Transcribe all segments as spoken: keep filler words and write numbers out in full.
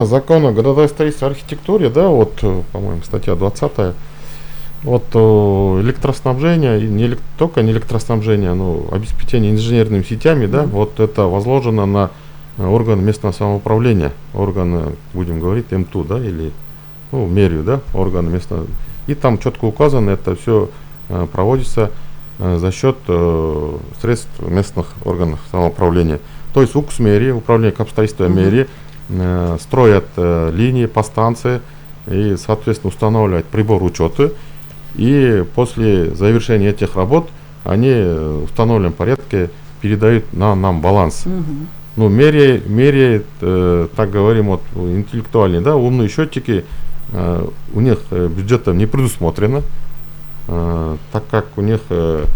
Закон о градостроительстве и архитектуре, да, вот, по-моему, статья двадцатая, вот электроснабжение, не только не электроснабжение, но обеспечение инженерными сетями, да, mm-hmm. вот это возложено на органы местного самоуправления, органы, будем говорить, эм тэ у, да, или, ну, мэрию, да, органы местного, и там четко указано, это все э, проводится э, за счет э, средств местных органов самоуправления. То есть УКС мэрии, управление капстроительства mm-hmm. мэрии, э, строят э, линии по станции и, соответственно, устанавливают прибор учета. И после завершения этих работ они в установленном порядке передают на нам баланс. Mm-hmm. Ну, меряет, меряет э, так говорим, вот, интеллектуальные, да, умные счетчики, э, у них э, бюджетом не предусмотрено, э, так как у них э,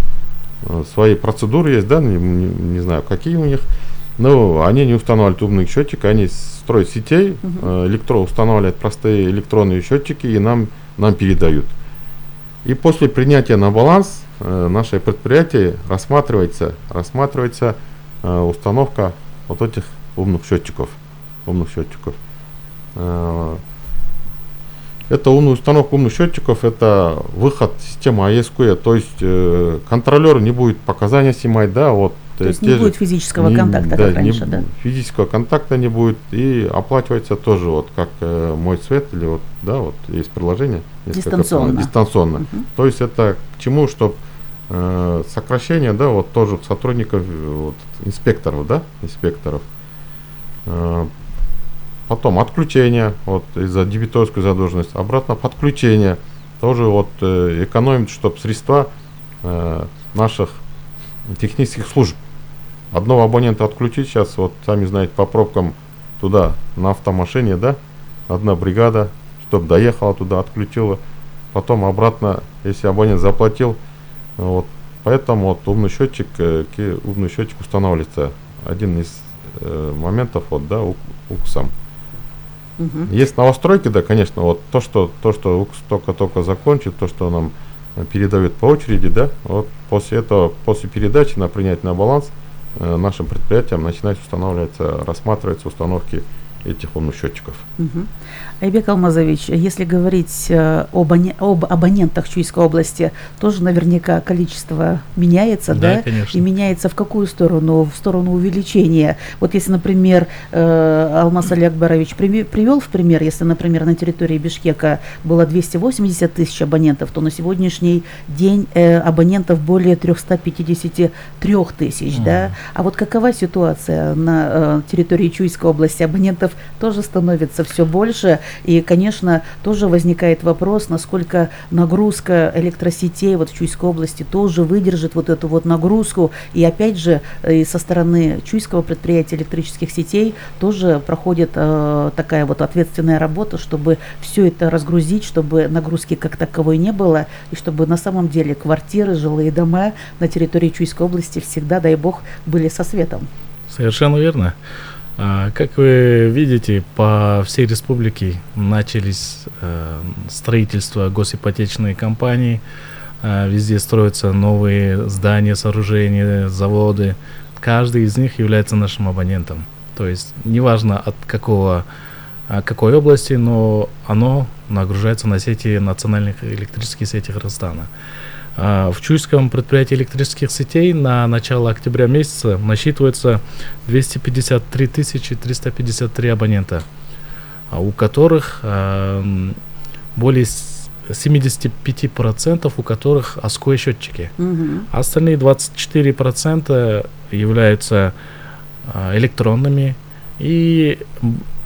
свои процедуры есть, да, не, не, не знаю, какие у них, но они не устанавливают умных счетчиков, они строят сетей, uh-huh. э, электро, устанавливают простые электронные счетчики и нам, нам передают. И после принятия на баланс э, наше предприятие рассматривается, рассматривается э, установка вот этих умных счетчиков, умных счетчиков. Э, это умная установка умных счетчиков, это выход системы эй эс кью и, то есть э, контролер не будет показания снимать, да, вот. То есть не будет физического не, контакта, да, как раньше, не, да? Физического контакта не будет, и оплачивается тоже, вот как э, мой цвет, или вот, да, вот есть приложение. Дистанционно. Дистанционно. Uh-huh. То есть это к чему, чтобы э, сокращение, да, вот тоже сотрудников, вот, инспекторов, да, инспекторов. Э, потом отключение, вот из-за дебиторской задолженности, обратно подключение, тоже вот э, экономит, чтобы средства э, наших технических служб. Одного абонента отключить сейчас, вот сами знаете, по пробкам туда на автомашине, да, одна бригада, чтобы доехала туда, отключила, потом обратно, если абонент заплатил, вот, поэтому вот умный счетчик, э, умный счетчик устанавливается, один из э, моментов, вот, да, УКСом. Uh-huh. Есть новостройки, да, конечно, вот то, что то, что УКС только-только закончит, то, что нам передают по очереди, да, вот после этого, после передачи на принятие на баланс э, нашим предприятиям начинать устанавливаться, рассматриваться установки этих умных счетчиков. Угу. Айбек Алмазович, если говорить э, об, об абонентах Чуйской области, тоже наверняка количество меняется, да? Да, конечно. И меняется в какую сторону? В сторону увеличения. Вот если, например, э, Алмаз Али Акбарович привел в пример, если, например, на территории Бишкека было двести восемьдесят тысяч абонентов, то на сегодняшний день э, абонентов более триста пятьдесят три тысяч, mm. да? А вот какова ситуация на э, территории Чуйской области? Абонентов тоже становится все больше, и, конечно, тоже возникает вопрос, насколько нагрузка электросетей вот в Чуйской области тоже выдержит вот эту вот нагрузку, и опять же и со стороны Чуйского предприятия электрических сетей тоже проходит э, такая вот ответственная работа, чтобы все это разгрузить, чтобы нагрузки как таковой не было, и чтобы на самом деле квартиры, жилые дома на территории Чуйской области всегда, дай бог, были со светом. Совершенно верно. Как вы видите, по всей республике начались э, строительство госипотечной компании, э, везде строятся новые здания, сооружения, заводы. Каждый из них является нашим абонентом. То есть неважно от какого, какой области, но оно нагружается на сети национальных электрических сетей Кыргызстана. В Чуйском предприятии электрических сетей на начало октября месяца насчитывается двести пятьдесят три тысячи триста пятьдесят три абонента, у которых э, более семьдесят пять процентов у которых АСКО счетчики. Mm-hmm. Остальные двадцать четыре процента являются э, электронными, и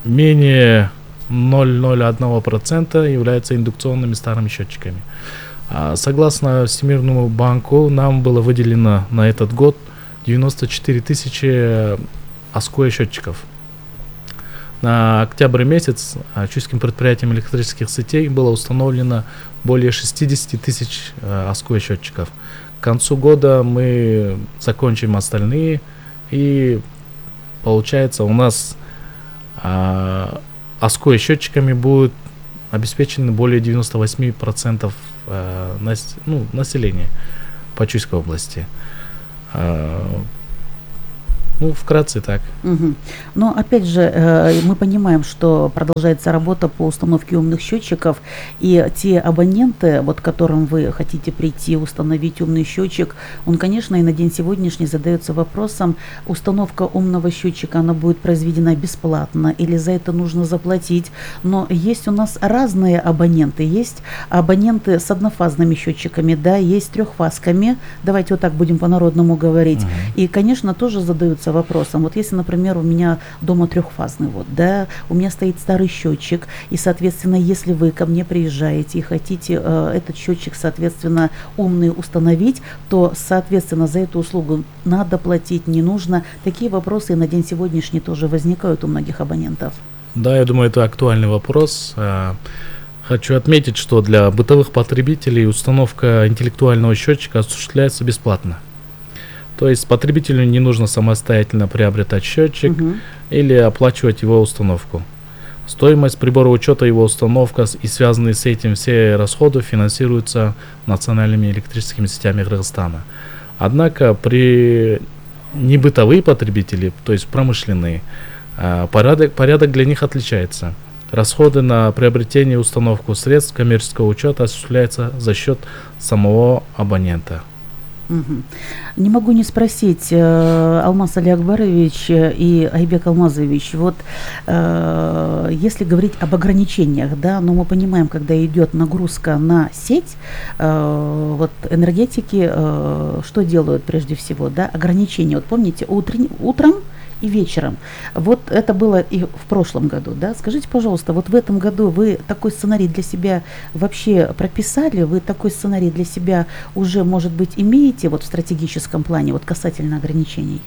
менее ноль целых ноль один процента являются индукционными старыми счетчиками. Согласно Всемирному банку, нам было выделено на этот год девяносто четыре тысячи АСКО счетчиков. На октябрь месяц Чуйским предприятием электрических сетей было установлено более шестьдесят тысяч АСКО счетчиков. К концу года мы закончим остальные, и получается у нас а, АСКО счетчиками будут обеспечены более девяносто восемь процентов э, нас, ну, населения по Чуйской области. Э, Ну, вкратце так. Мгм. Но опять же, э, мы понимаем, что продолжается работа по установке умных счетчиков, и те абоненты, вот к которым вы хотите прийти, установить умный счетчик, он, конечно, и на день сегодняшний задается вопросом, установка умного счетчика, она будет произведена бесплатно или за это нужно заплатить. Но есть у нас разные абоненты. Есть абоненты с однофазными счетчиками, да, есть трехфазками. Давайте вот так будем по-народному говорить. Мгм. И, конечно, тоже задаются вопросом. Вот если, например, у меня дома трехфазный, вот, да, у меня стоит старый счетчик, и, соответственно, если вы ко мне приезжаете и хотите э, этот счетчик, соответственно, умный установить, то, соответственно, за эту услугу надо платить, не нужно. Такие вопросы на день сегодняшний тоже возникают у многих абонентов. Да, я думаю, это актуальный вопрос. А, Хочу отметить, что для бытовых потребителей установка интеллектуального счетчика осуществляется бесплатно. То есть потребителю не нужно самостоятельно приобретать счетчик Мгм. или оплачивать его установку. Стоимость прибора учета, его установка с- и связанные с этим все расходы финансируются национальными электрическими сетями Кыргызстана. Однако при небытовые потребители, то есть промышленные, а, порядок, порядок для них отличается. Расходы на приобретение и установку средств коммерческого учета осуществляются за счет самого абонента. Мгм. Не могу не спросить, э, Алмаз Али Акбарович э, и Айбек Алмазович, вот э, если говорить об ограничениях, да, но мы понимаем, когда идет нагрузка на сеть, э, вот энергетики э, что делают прежде всего, да, ограничения. Вот помните, утрен- утром и вечером. Вот это было и в прошлом году, да. Скажите, пожалуйста, вот в этом году вы такой сценарий для себя вообще прописали? Вы такой сценарий для себя уже, может быть, имеете вот в стратегическом плане, вот касательно ограничений?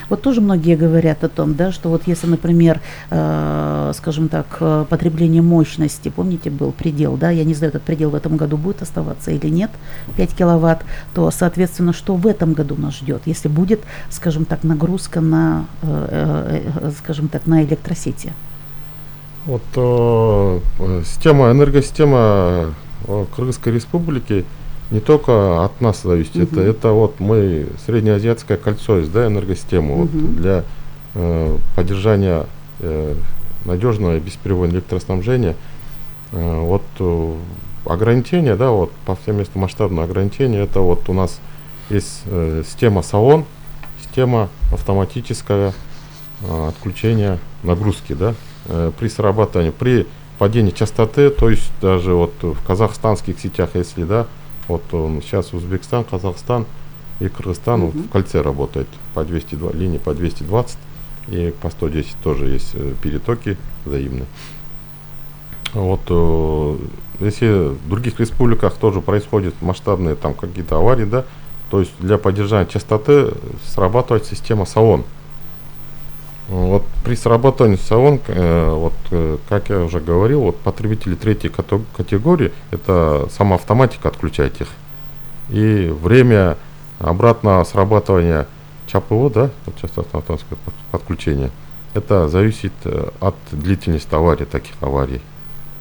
Вот тоже многие говорят о том, да, что вот если, например, э, скажем так, э, потребление мощности, помните, был предел, да, я не знаю, этот предел в этом году будет оставаться или нет, пять киловатт, то, соответственно, что в этом году нас ждет, если будет, скажем так, нагрузка на, э, э, скажем так, на электросети? Вот э, э, система, энергосистема э, Кыргызской Республики не только от нас зависит, это, Мгм. это вот мы среднеазиатское кольцо есть, да, энергосистему вот, Мгм. для э, поддержания э, надежного и бесперебойного электроснабжения. Э, вот э, ограничения, да, вот по всем местам масштабное ограничение, это вот у нас есть э, система САОН, система автоматического э, отключения нагрузки, да, э, при срабатывании, при падении частоты, то есть даже вот в казахстанских сетях, если, да, вот он сейчас Узбекистан, Казахстан и Кыргызстан вот Мгм. в кольце работает по двести два, линии по двести двадцать и по сто десять тоже есть э, перетоки взаимные. Вот э, если в других республиках тоже происходят масштабные там какие-то аварии, да, то есть для поддержания частоты срабатывает система САОН. Вот при срабатывании САОН, э, вот, э, как я уже говорил, вот потребители третьей като- категории, это сама автоматика отключает их. И время обратного срабатывания ЧАПО, да, вот частотное автоматическое под- подключение, это зависит э, от длительности аварии, таких аварий.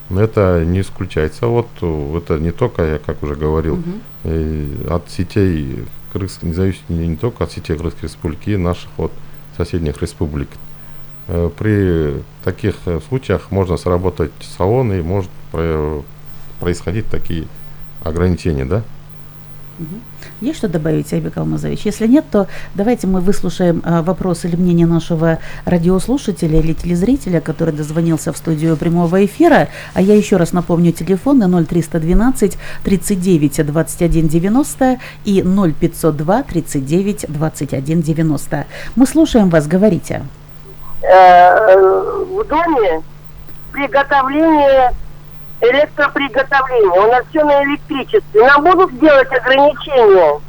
Но это не исключается. Вот э, это не только, я как уже говорил, Мгм. э, от сетей Кыргызской, не зависит не, не только от сетей Кыргызской Республики, и наших вот соседних республик. Э, При таких э, случаях можно сработать САОН и может про- происходить такие ограничения, да? Мгм. Есть что добавить, Айбек Алмазович? Если нет, то давайте мы выслушаем а, вопрос или мнение нашего радиослушателя или телезрителя, который дозвонился в студию прямого эфира. А я еще раз напомню телефоны ноль триста двенадцать тридцать девять двадцать один девяносто и ноль пятьсот два тридцать девять двадцать один девяносто. Мы слушаем вас, говорите. Э, в доме приготовление, электроприготовление. У нас все на электричестве. Нам будут делать ограничения.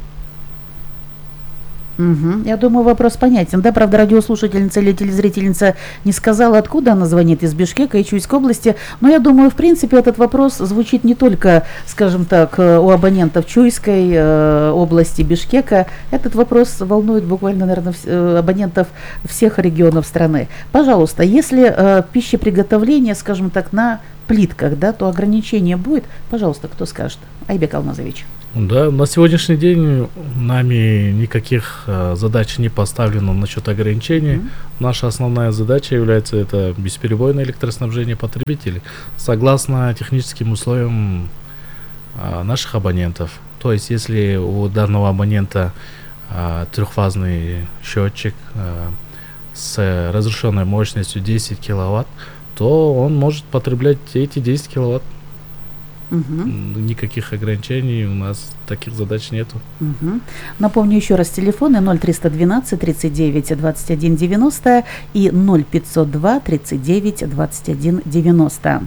Мгм. Я думаю, вопрос понятен. Да, правда, радиослушательница или телезрительница не сказала, откуда она звонит, из Бишкека и Чуйской области. Но я думаю, в принципе, этот вопрос звучит не только, скажем так, э, у абонентов Чуйской э, области, Бишкека. Этот вопрос волнует буквально, наверное, вс- э, абонентов всех регионов страны. Пожалуйста, если э, пищеприготовление, скажем так, на плитках, да, то ограничение будет. Пожалуйста, кто скажет? Айбек Алмазович. Да, на сегодняшний день нами никаких э, задач не поставлено насчет ограничений. Мгм. Наша основная задача является это бесперебойное электроснабжение потребителей согласно техническим условиям э, наших абонентов. То есть, если у данного абонента э, трехфазный счетчик э, с разрешенной мощностью десять киловатт, то он может потреблять эти десять киловатт. Мгм. М, Никаких ограничений у нас таких задач нету. Мгм. Напомню еще раз телефоны ноль триста двенадцать тридцать девять двадцать один девяносто и ноль пятьсот два тридцать девять двадцать один девяносто.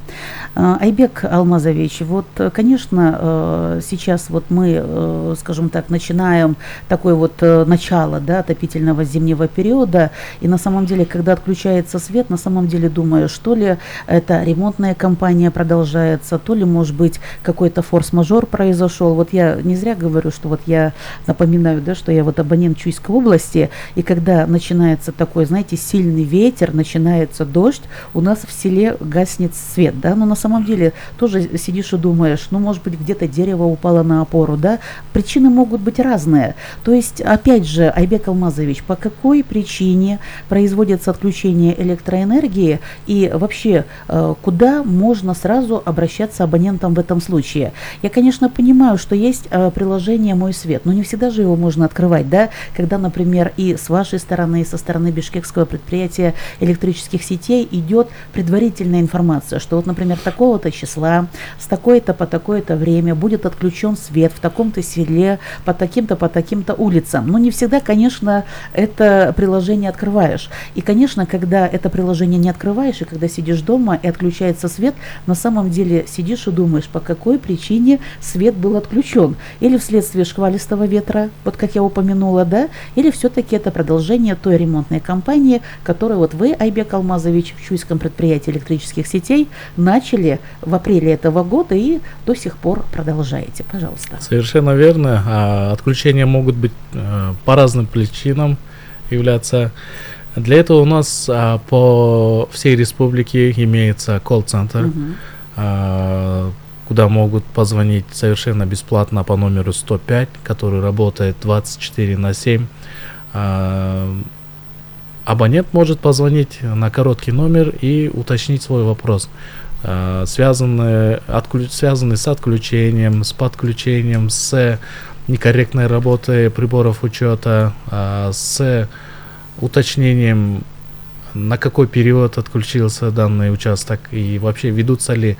А, Айбек Алмазович, вот, э, конечно, э, сейчас вот мы, э, скажем так, начинаем такое вот э, начало, да, отопительного зимнего периода, и на самом деле, когда отключается свет, на самом деле думаю, что ли это ремонтная кампания продолжается, то ли, может быть, какой-то форс-мажор произошел. Вот я не зря говорю, что вот я напоминаю, да, что я вот абонент Чуйской области, и когда начинается такой, знаете, сильный ветер, начинается дождь, у нас в селе гаснет свет, да, но на самом деле тоже сидишь и думаешь, ну, может быть, где-то дерево упало на опору, да, причины могут быть разные. То есть, опять же, Айбек Алмазович, по какой причине производится отключение электроэнергии и вообще, э, куда можно сразу обращаться абонентам в этом случае? Я, конечно, понимаю, что есть э, приложение «Мой свет», но не всегда же его можно открывать, да, когда, например, и с вашей стороны, и со стороны бишкекского предприятия электрических сетей идет предварительная информация, что вот, например, такого-то числа, с такой-то по такое-то время будет отключен свет в таком-то селе, по таким-то, по таким-то улицам. Но не всегда, конечно, это приложение открываешь. И, конечно, когда это приложение не открываешь, и когда сидишь дома и отключается свет, на самом деле сидишь и думаешь, по какой причине свет был отключен. Или вследствие шквалистого ветра, вот как я упомянула, да, или все-таки это продолжение той ремонтной кампании, которую вот вы, Айбек Алмазович, в Чуйском предприятии электрических сетей начали в апреле этого года и до сих пор продолжаете. Пожалуйста. Совершенно верно. А, Отключения могут быть э, по разным причинам являться. Для этого у нас а, по всей республике имеется колл-центр, Мгм. а, куда могут позвонить совершенно бесплатно по номеру сто пять, который работает двадцать четыре на семь. А, Абонент может позвонить на короткий номер и уточнить свой вопрос, а, связанный, отклю- связанный с отключением, с подключением, с некорректной работой приборов учета, а, с уточнением, на какой период отключился данный участок и вообще ведутся ли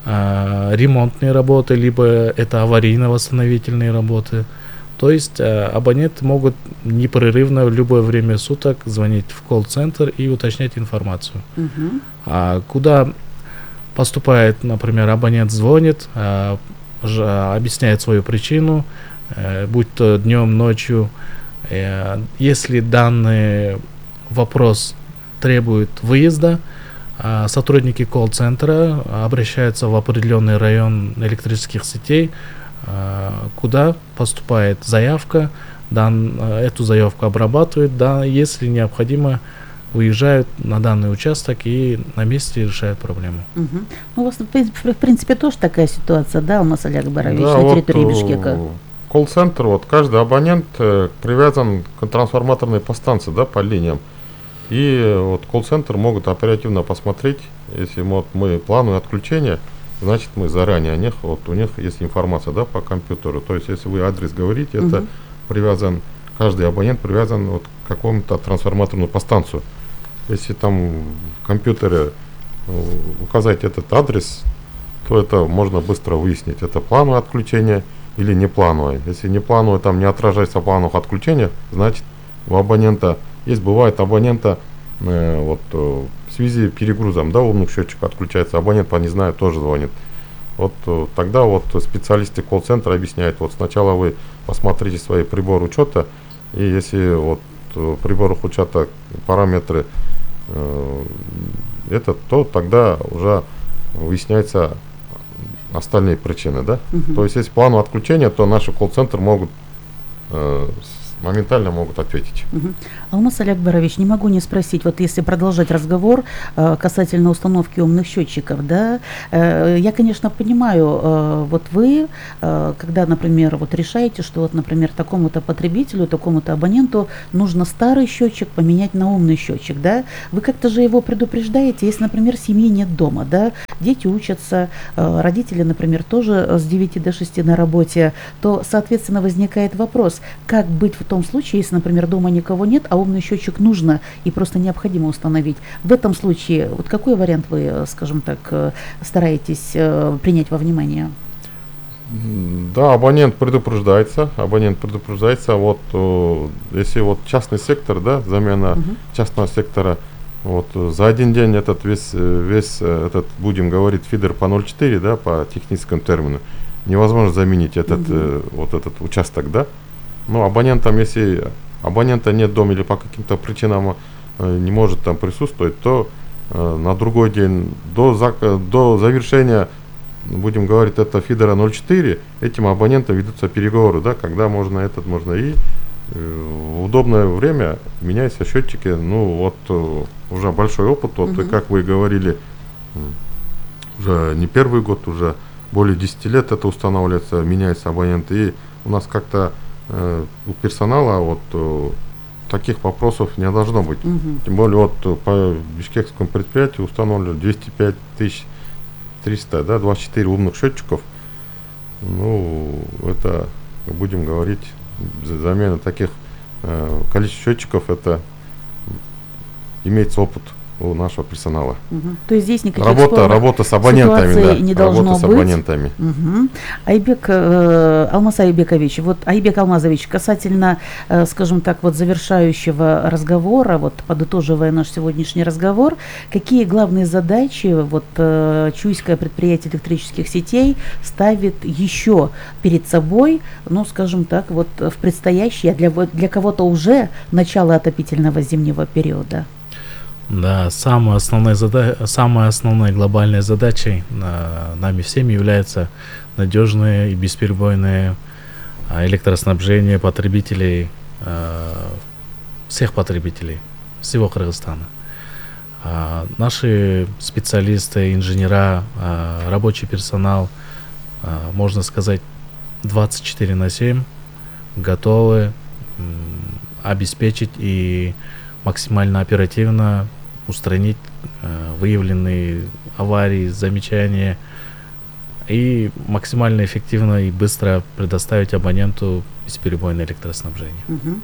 а, ремонтные работы, либо это аварийно-восстановительные работы. То есть а, абоненты могут непрерывно в любое время суток звонить в колл-центр и уточнять информацию. Мгм. А куда поступает, например, абонент звонит, а, ж- а, объясняет свою причину, э, будь то днем, ночью. Э, Если данный вопрос требует выезда, а, сотрудники колл-центра обращаются в определенный район электрических сетей, а, куда поступает заявка, дан, а, эту заявку обрабатывают, да, если необходимо, выезжают на данный участок и на месте решают проблему. Мгм. Ну, у вас, в принципе, в принципе, тоже такая ситуация, да, Алмаз Алякбарович, Да, на вот, территории э, Бишкека? колл-центр, вот каждый абонент э, привязан к трансформаторной подстанции, да, по линиям. И вот колл-центр могут оперативно посмотреть, если вот мы плануем отключение, значит мы заранее о них, вот у них есть информация, да, по компьютеру. То есть если вы адрес говорите, это Мгм. привязан, каждый абонент привязан вот к какому-то трансформаторную подстанцию. Если там в компьютере э, указать этот адрес, то это можно быстро выяснить, это плановое отключение или не плановое. Если не плановое, там не отражается в плановых отключениях, значит у абонента есть, бывает абонента э, вот э, в связи с перегрузом, да, умных счетчиков отключается, абонент по не знаю тоже звонит. Вот э, тогда вот специалисты колл-центра объясняют, вот сначала вы посмотрите свои приборы учета, и если вот э, в приборах учета параметры э, это, то тогда уже выясняется остальные причины, да. Мгм. То есть если плановое отключение, то наши колл-центры могут э, с- моментально могут ответить. Мгм. Алмаз Алякбарович, не могу не спросить, вот если продолжать разговор э, касательно установки умных счетчиков, да, э, я, конечно, понимаю, э, вот вы, э, когда, например, вот решаете, что вот, например, такому-то потребителю, такому-то абоненту нужно старый счетчик поменять на умный счетчик, да, вы как-то же его предупреждаете, если, например, семьи нет дома, да, дети учатся, э, родители, например, тоже с девяти до шести на работе, то, соответственно, возникает вопрос, как быть в том случае, если, например, дома никого нет, а умный счетчик нужно и просто необходимо установить. В этом случае, вот какой вариант вы, скажем так, э, стараетесь э, принять во внимание? М, Да, абонент предупреждается, абонент предупреждается, вот, э, если вот частный сектор, да, замена Мгм. частного сектора, вот, э, за один день этот весь, э, весь э, этот, будем говорить, фидер по ноль четыре, да, по техническому термину, невозможно заменить этот, Мгм. э, вот этот участок, да. Ну, абонентам, если абонента нет дома или по каким-то причинам э, не может там присутствовать, то э, на другой день до, зак- до завершения, будем говорить, это фидера ноль четыре, этим абонентам ведутся переговоры, да, когда можно этот, можно и э, в удобное время меняются счетчики. Ну, вот э, уже большой опыт, вот, Мгм. и как вы говорили, м, уже не первый год, уже более десяти лет это устанавливается, меняются абоненты, и у нас как-то э, у персонала вот э, таких вопросов не должно быть. Мгм. Тем более вот э, по бишкекскому предприятию установлено двести пять тысяч триста, да, двадцать четыре умных счетчиков. Ну, это, будем говорить, за- замена таких э, количества счетчиков, это имеется опыт у нашего персонала. Мгм. То есть здесь никаких Работа, спорных работа с абонентами, ситуаций да, не должно работа с быть. абонентами. Мгм. Айбек, э, Алмаз Айбекович, вот Айбек Алмазович, касательно, э, скажем так, вот завершающего разговора, вот подытоживая наш сегодняшний разговор, какие главные задачи вот э, Чуйское предприятие электрических сетей ставит еще перед собой, ну, скажем так, вот в предстоящее, для, вот для кого-то уже начало отопительного зимнего периода? Да, самой основной, зада... самой основной глобальной задачей э, нами всеми является надежное и бесперебойное э, электроснабжение потребителей, э, всех потребителей, всего Кыргызстана. А наши специалисты, инженера, э, рабочий персонал, э, можно сказать, двадцать четыре на семь готовы м, обеспечить и максимально оперативно устранить э, выявленные аварии, замечания и максимально эффективно и быстро предоставить абоненту бесперебойное электроснабжение. Мгм.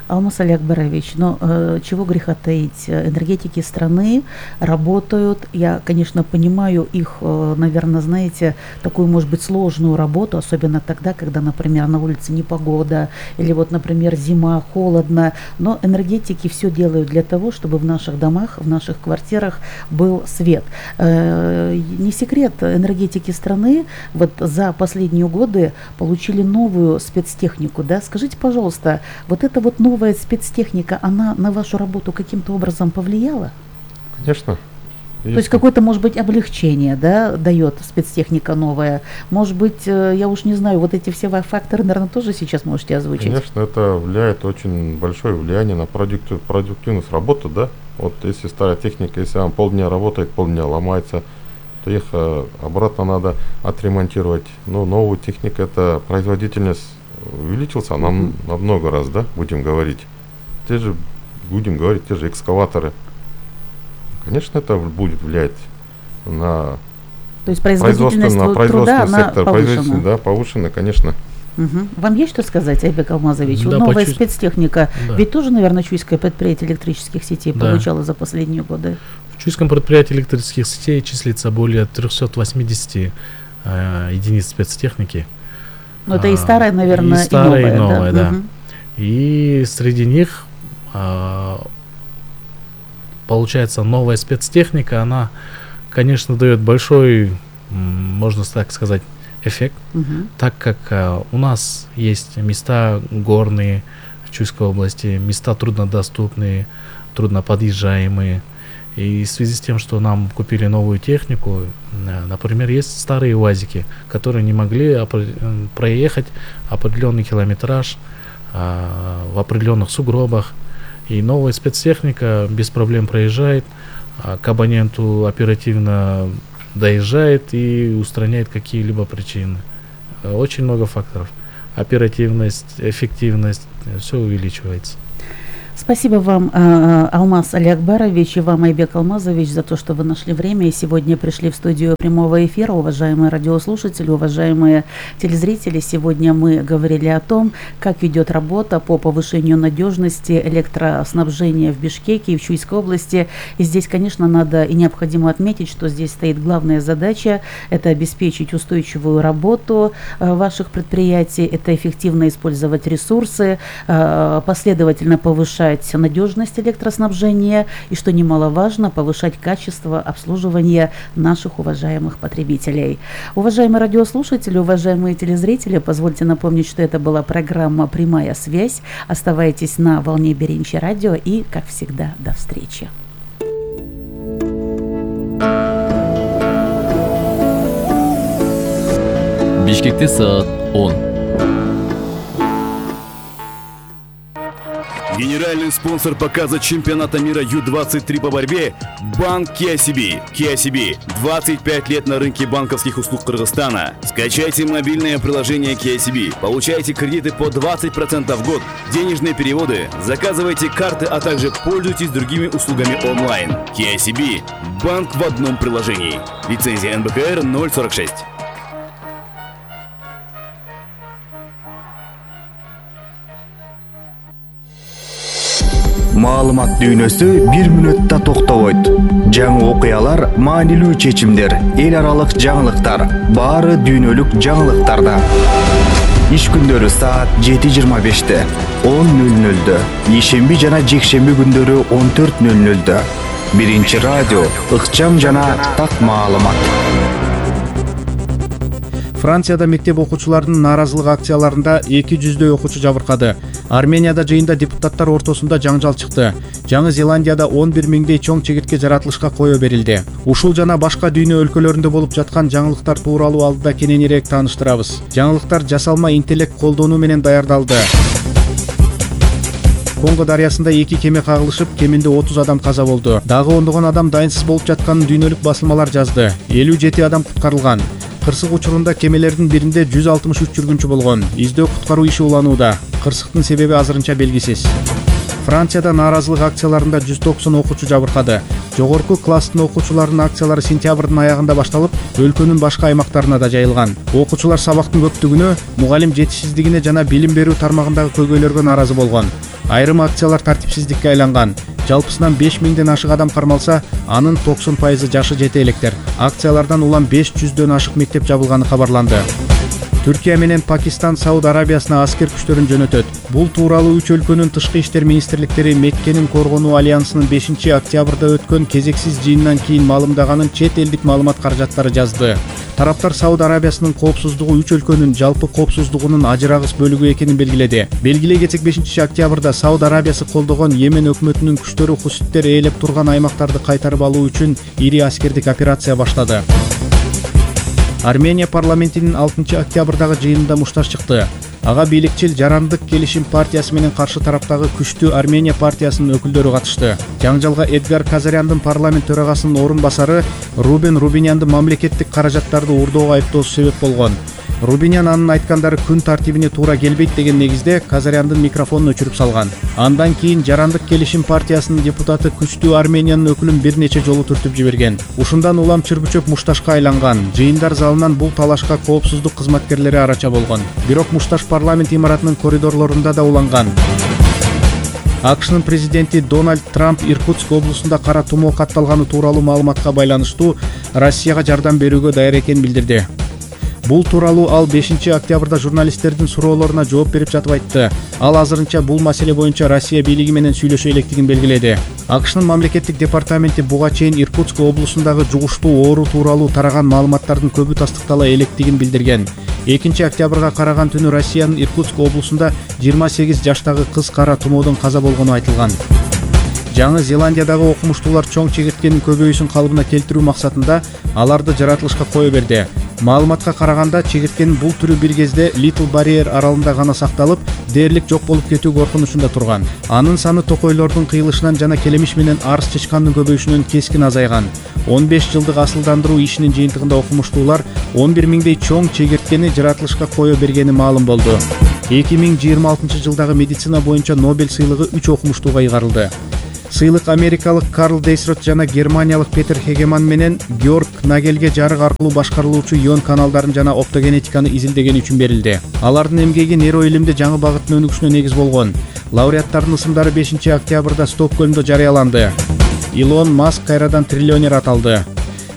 Алмаз Алякбарович, но э, чего греха таить, э, энергетики страны работают, я, конечно, понимаю их, э, наверное, знаете, такую, может быть, сложную работу, особенно тогда, когда, например, на улице непогода, или вот, например, зима, холодно, но энергетики все делают для того, чтобы в наших домах, в наших квартирах был свет. Э, не секрет, энергетики страны вот за последние годы получили новую спецтехнику, да? Скажите, пожалуйста, вот эта вот новая спецтехника, она на вашу работу каким-то образом повлияла? Конечно. То есть какое-то, может быть, облегчение, да, дает спецтехника новая? Может быть, э, я уж не знаю, вот эти все ва- факторы, наверное, тоже сейчас можете озвучить? Конечно, это влияет, очень большое влияние на продуктив- продуктивность работы, да. Вот если старая техника, если она полдня работает, полдня ломается, то их э, обратно надо отремонтировать. Но новую технику, это производительность увеличился нам Мгм. на много раз, да, будем говорить. Те же, будем говорить, те же экскаваторы. Конечно, это будет влиять на То есть производство, производительность на тру- труда, производственный она сектор, повышена? производительность, да, повышена, конечно. Мгм. Вам есть что сказать, Айбек Алмазович? Да, Вот новая почувств- спецтехника, Да. ведь тоже, наверное, Чуйское предприятие электрических сетей Да. получало за последние годы? В Чуйском предприятии электрических сетей числится более триста восемьдесят э, единиц спецтехники. Ну, это и А, старая, наверное, и старая, и новая, новая, да. Мгм. И среди них, а, получается, новая спецтехника, она, конечно, дает большой, м, можно так сказать, эффект, Мгм. так как а, у нас есть места горные в Чуйской области, места труднодоступные, трудноподъезжаемые. И в связи с тем, что нам купили новую технику, э, например, есть старые УАЗики, которые не могли опре- э, проехать определенный километраж в определенных сугробах. И новая спецтехника без проблем проезжает, к абоненту оперативно доезжает и устраняет какие-либо причины. Очень много факторов. Оперативность, эффективность, все увеличивается. Спасибо вам, Алмаз Алиакбарович, и вам, Айбек Алмазович, за то, что вы нашли время и сегодня пришли в студию прямого эфира. Уважаемые радиослушатели, уважаемые телезрители, сегодня мы говорили о том, как ведет работа по повышению надежности электроснабжения в Бишкеке и в Чуйской области. И здесь, конечно, надо и необходимо отметить, что здесь стоит главная задача – это обеспечить устойчивую работу ваших предприятий, это эффективно использовать ресурсы, последовательно повышать надежность электроснабжения и, что немаловажно, повышать качество обслуживания наших уважаемых потребителей. Уважаемые радиослушатели, уважаемые телезрители, позвольте напомнить, что это была программа «Прямая связь». Оставайтесь на волне Беренчи радио и, как всегда, до встречи. Бишкекте саат он. Генеральный спонсор показа чемпионата мира ю двадцать три по борьбе – Банк Kia си би. Kia си би – двадцать пять лет на рынке банковских услуг Кыргызстана. Скачайте мобильное приложение Kia си би, получайте кредиты по двадцать процентов в год, денежные переводы, заказывайте карты, а также пользуйтесь другими услугами онлайн. Kia си би – банк в одном приложении. Лицензия эн бэ ка эр ноль сорок шесть. Маалымат дүйнөсү бир мүнөттө токтобойт. Жаңы окуялар, маанилүү чечимдер, эл аралык жаңылыктар, баары дүйнөлүк жаңылыктарда. Иш күндөрү саат жети жыйырма беште, он нөл нөлдө, ишемби жана жекшемби күндөрү он төрт нөл нөлдө. Биринчи радио, ыкчам жана так маалымат. Францияда мектеп окуучуларынын нааразылык акцияларында эки жүздөй окуучу жабыркады. Арменияда жыйында депутаттар ортосунда жаңжал чыкты. Жаңы Зеландияда он бир миңдей чоң чегиртке жаратылышка кое берилди. Ушул жана башка дүйнө өлкөлөрүндө болуп жаткан жаңылыктар тууралуу алдыда кененирээк тааныштырабыз. Жаңылыктар жасалма интеллект колдонуу менен даярдалды. Конго дарыясында эки кеме кагылышып, кеминде отуз адам каза болду. Дагы ондогон адам дайынсыз болуп жатканын дүйнөлүк басылмалар жазды. элүү жети адам куткарылган. Кырсык учурунда кемелердин биринде жүз алтымыш үч жүргүнчү болгон. Издөө куткаруу иши уланууда. Кырсыктын себеби азырынча белгисиз. Францияда нааразылык акцияларында жүз токсон окуучу жабыркады. Жогорку класстын окуучуларынын акциялары сентябрдын аягында башталып, өлкөнүн башка аймактарына да жайылган. Окуучулар сабактын көптүгүнө, мугалим жетишсиздигине жана билим берүү тармагындагы көйгөйлөргө нааразы болгон. Айрым акциялар тартипсиздикке айланган. Жалпысынан беш миңден ашык адам кармалса, анын токсон пайызы жашы жете электер. Акциялардан улам беш жүздөн ашык мектеп жабылганы кабарланды. Түркия менен Пакистан Сауд Арабиясына аскер күчтөрүн жөнөтөт. Бул тууралуу үч өлкөнүн тышкы иштер министрликтери Меккенин коргонуу альянсынын бешинчи октябрда өткөн кезексиз жыйынынан кийин маалымдаганын чет элдик маалымат каражаттары жазды. Тараптар Сауд Арабиясынын коопсуздугу үч өлкөнүн жалпы коопсуздугунун ажырагыс бөлүгү экенин белгиледи. Белгилей кетсек, бешинчи октябрда Сауд Арабиясы колдогон Йемен өкмөтүнүн күчтөрү хуситтер ээлеп турган аймактарды кайтарып алуу үчүн ири аскердик операция баштады. Армения парламентинин алтынчы октябрдагы жыйынында мушташ чыкты. Ага бийликчил Жарандык келишим партиясы менен каршы тараптагы күчтүү Армения партиясынын өкүлдөрү катышты. Жаңжалга Эдгар Казаряндын парламент төрагасынын орун басары Рубен Рубинянды мамлекеттик каражаттарды уурдоого айыптоосу себеп болгон. Рубинян анын айткандары күн тартибине туура келбейт деген негизде Казаряндын микрофонун өчүрүп салган. Андан кийин Жарандык келишим партиясынын депутаты күчтүү Армениянын өкүлүн бир нече жолу түртүп жиберген. Ушундан улам чырбычөп мушташка айланган. Жыйындар залынан бул талашка коопсуздук кызматкерлери арача болгон. Бирок мушташ парламент имаратынын коридорлорунда да уланган. АКШнын президенти Дональд Трамп Иркутск облусунда кара тумоо катталганы тууралуу маалыматка байланыштуу Россияга жардам берүүгө даяр экенин билдирди. Бул тууралуу ал бешинчи октябрда журналисттердин суроолоруна жооп берип жатып айтты. Ал азырынча бул маселе боюнча Россия бийлиги менен сүйлөшө электигин белгиледи. АКШнын мамлекеттик департаменти буга чейин Иркутск облусундагы жугуштуу оору тууралуу тараган маалыматтардын көбү тастыктала электигин билдирген. экинчи октябрга караган түнү Россиянын Иркутск облусунда жыйырма сегиз жаштагы кыз кара тумоодон каза болгону айтылган. Жаңы Зеландиядагы окумуштуулар чоң чегирткенин көбөйүүсүн калыбына келтирүү максатында аларды жаратылышка кое берди. Маалыматка караганда чегирткенин бул түрү бир кезде Little Barrier аралында гана сакталып, дээрлик жок болуп кетүү коркунучунда турган. Анын саны токойлордун кыйылышынан жана келемиш менен арыз чычкандын көбөйүшүнөн кескин азайган. он беш жылдык асылдандыруу ишинин жыйынтыгында окумуштуулар он бир миңдей чоң чегирткени жаратылышка кое бергени маалым болду. эки миң жыйырма алтынчы жылдагы медицина боюнча Нобель сыйлыгы үч окумуштууга ыйгарылды. Сыйлык америкалык Карл Дейсрот жана германиялык Петер Хегеман менен Георг Нагельге жарык аркылуу башкарылуучу ион каналдарын жана оптогенетиканы изилдегени үчүн берилди. Алардын эмгеги нейроилимде жаңы багыттын өнүгүшүнө негиз болгон. Лауреаттардын ысымдары бешинчи октябрда Стокгольмдо жарыяланды. Илон Маск кайрадан триллионер аталды.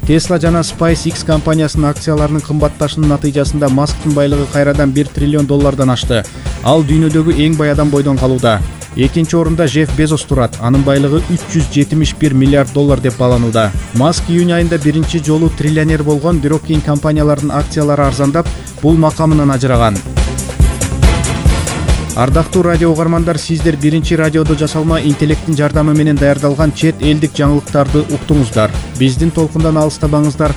Tesla жана SpaceX компаниясынын акцияларынын кымбатташынын натыйжасында Масктын байлыгы кайрадан бир триллион доллардан ашты. Ал дүйнөдөгү эң бай адам бойдон калууда. Экинчи орунда Жефф Безос турат. Анын байлыгы үч жүз жетимиш бир миллиард доллар деп бааланууда. Маск июнь айында биринчи жолу триллионер болгон, бирок кийин компаниялардын акциялары арзандап, бул макамынан ажыраган. Ардактуу радио угармандар, сиздер биринчи радиодо жасалма интеллекттин жардамы менен даярдалган чет элдик жаңылыктарды уктуңуздар. Биздин толкундан алыстабаңыздар.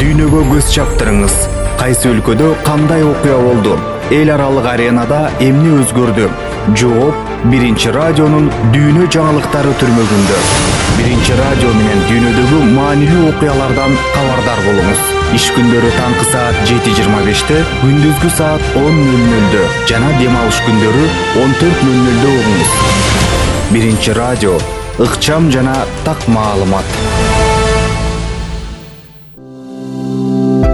Дүйнөгө көз чаптырыңыз. Кайсы өлкөдө кандай окуя болду? Эл аралык аренада эмне өзгөрдү? Жооп биринчи радионун дүйнө жаңылыктары түрмөгүндө. Биринчи радио менен дүйнөдөгү маанилүү окуялардан кабардар болуңуз. Иш күндөрү таңкы саат жети жыйырма беште, күндүзгү саат он нөл нөлдө жана дем алыш күндөрү он төрт нөл нөлдө угуңуз. Биринчи радио, ыкчам жана так маалымат.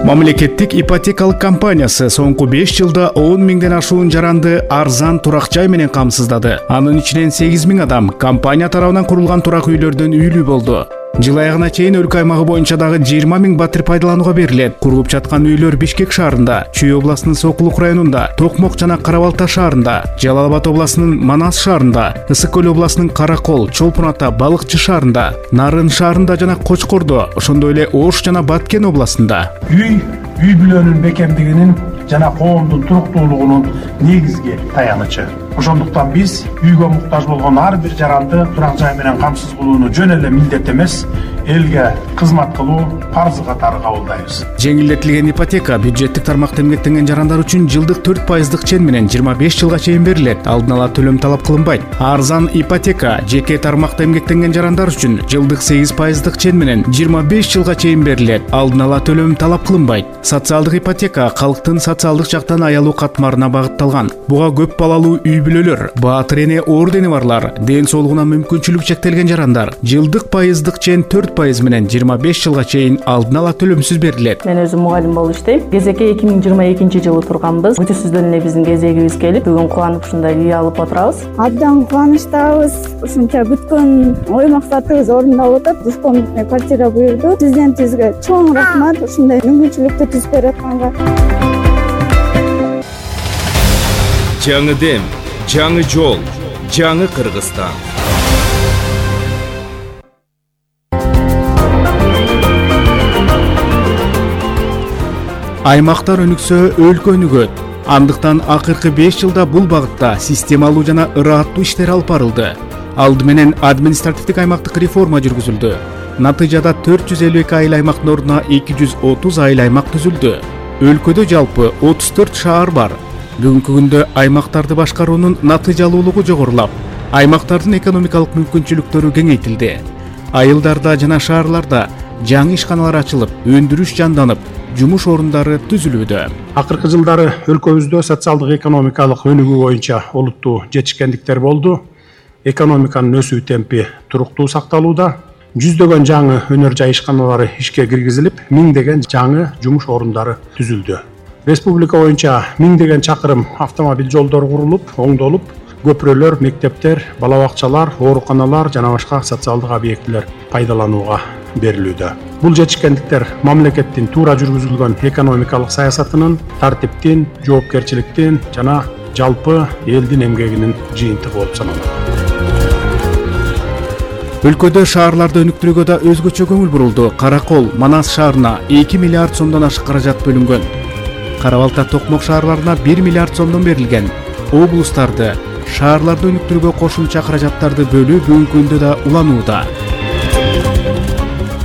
Мамлекеттик ипотекалык компаниясы соңку беш жылда он миңден ашуун жаранды арзан турак жай менен камсыздады. Анын ичинен сегиз миң адам компания тарабынан курулган турак үйлөрдөн үйлүү болду. Жыл аягына чейин өлкө аймагы боюнча дагы жыйырма миң батир пайдаланууга берилет. Курулуп жаткан үйлөр Бишкек шаарында, Чүй областынын Сокулук районунда, Токмок жана Кара-Балта шаарында, Жалал Абад областынын Манас шаарында, Ысык көл областынын Каракол, Чолпон Ата, Балыкчы шаарында, Нарын шаарында жана Кочкордо, ошондой эле Ош жана Баткен областында. Үй үй бүлөнүн бекемдигинин жана коомдун туруктуулугунун негизги таянычы. Ошондуктан биз үйгө муктаж болгон ар бир жаранды турак жай менен камсыз кылууну жөн эле милдет эмес, элге кызмат кылуу парзы катары кабылдайбыз. Жеңилдетилген ипотека бюджеттик тармакта эмгектенген жарандар үчүн жылдык төрт пайыздык чен менен жыйырма беш жылга чейин берилет. Алдын ала төлөм талап кылынбайт. Арзан ипотека жеке тармакта эмгектенген жарандар үчүн жылдык сегиз пайыздык чен менен жыйырма беш жылга чейин берилет. Алдын ала төлөм талап кылынбайт. Социалдык ипотека калктын социалдык жактан аялуу катмарына багытталган. Буга көп балалуу үй бүлөлөр, баатыр эне ордени барлар, ден соолугуна мүмкүнчүлүк чектелген жарандар жылдык пайыздык чен төрт пайыз менен жыйырма беш жылга чейин алдын ала төлөмсүз берилет. Мен өзүм мугалим болуп иштейм. Кезекке эки миң жыйырма экинчи жылы турганбыз. Күтүүсүздөн эле биздин кезегибиз келип, бүгүн кубанып ушундай үй алып отурабыз. Абдан кубанычтабыз. Ушунча күткөн ой максатыбыз орундалып атат. Дуспон квартира буйрду. Президентибизге чоң рахмат ушундай мүмкүнчүлүктү түзүп берип атканга. Жаңы дем, жаңы жол, жаңы Кыргызстан. Аймактар өнүксө, өлкө өнүгөт. Андыктан акыркы беш жылда бул багытта системалуу жана ырааттуу иштер алып барылды. Алды менен административдик аймактык реформа жүргүзүлдү. Натыйжада төрт жүз элүү эки айыл аймактын ордуна эки жүз отуз айыл аймак түзүлдү. Өлкөдө жалпы отуз төрт шаар бар. Бүгүнкү күндө аймактарды башкаруунун натыйжалуулугу жогорулап, аймактардын экономикалык мүмкүнчүлүктөрү кеңейтилди. Айылдарда жана шаарларда жаңы ишканалар ачылып, өндүрүш жанданып, жумуш орундары түзүлүүдө. Акыркы жылдары өлкөбүздө социалдык экономикалык өнүгүү боюнча олуттуу жетишкендиктер болду. Экономиканын өсүү темпи туруктуу сакталууда. Жүздөгөн жаңы өнөр жай ишканалары ишке киргизилип, миңдеген жаңы жумуш орундары түзүлдү. Республика боюнча миңдеген чакырым автомобиль жолдору курулуп, оңдолуп, көпүрөлөр, мектептер, бала бакчалар, ооруканалар жана башка социалдык объектилер пайдаланууга берилүүдө. Бул жетишкендиктер мамлекеттин туура жүргүзүлгөн экономикалык саясатынын, тартиптин, жоопкерчиликтин жана жалпы элдин эмгегинин жыйынтыгы болуп саналат. Өлкөдө шаарларды өнүктүрүүгө да өзгөчө көңүл бурулду. Каракол, Манас шаарына эки миллиард сомдон ашык каражат бөлүнгөн. Кара-Балта, Токмок шаарларына бир миллиард сомдон берилген. Облустарды, шаарларды өнүктүрүүгө кошумча каражаттарды бөлүү бүгүнкү күндө да уланууда.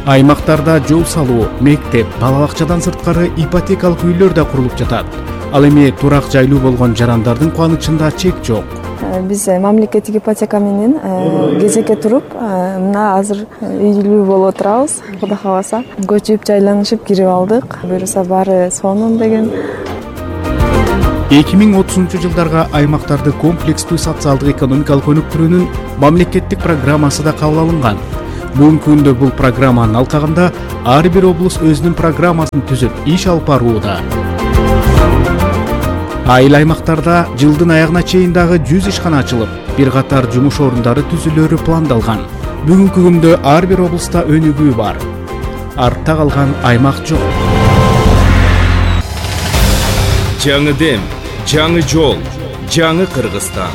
Аймактарда жол салуу, мектеп, бала бакчадан сырткары ипотекалык үйлөр да курулуп жатат. Ал эми турак жайлуу болгон жарандардын кубанычында чек жок. Биз мамлекеттик ипотека менен кезекке туруп, мына азыр үйлүү болуп отурабыз. Кудай кааласа, көчүп, жайланышып кирип алдык. Буюрса баары сонун деген. эки миң отузунчу жылдарга аймактарды комплекстүү социалдык экономикалык өнүктүрүүнүн мамлекеттик программасы да кабыл алынган. Бүгүнкү күндө бул программанын алкагында ар бир облус өзүнүн программасын түзүп иш алып барууда. Айыл аймактарда жылдын аягына чейин дагы жүз ишкана ачылып, бир катар жумуш орундары түзүлөрү пландалган. Бүгүнкү күндө ар бир облуста өнүгүү бар. Артта калган аймак жок. Жаңы дем, жаңы жол, жаңы Кыргызстан.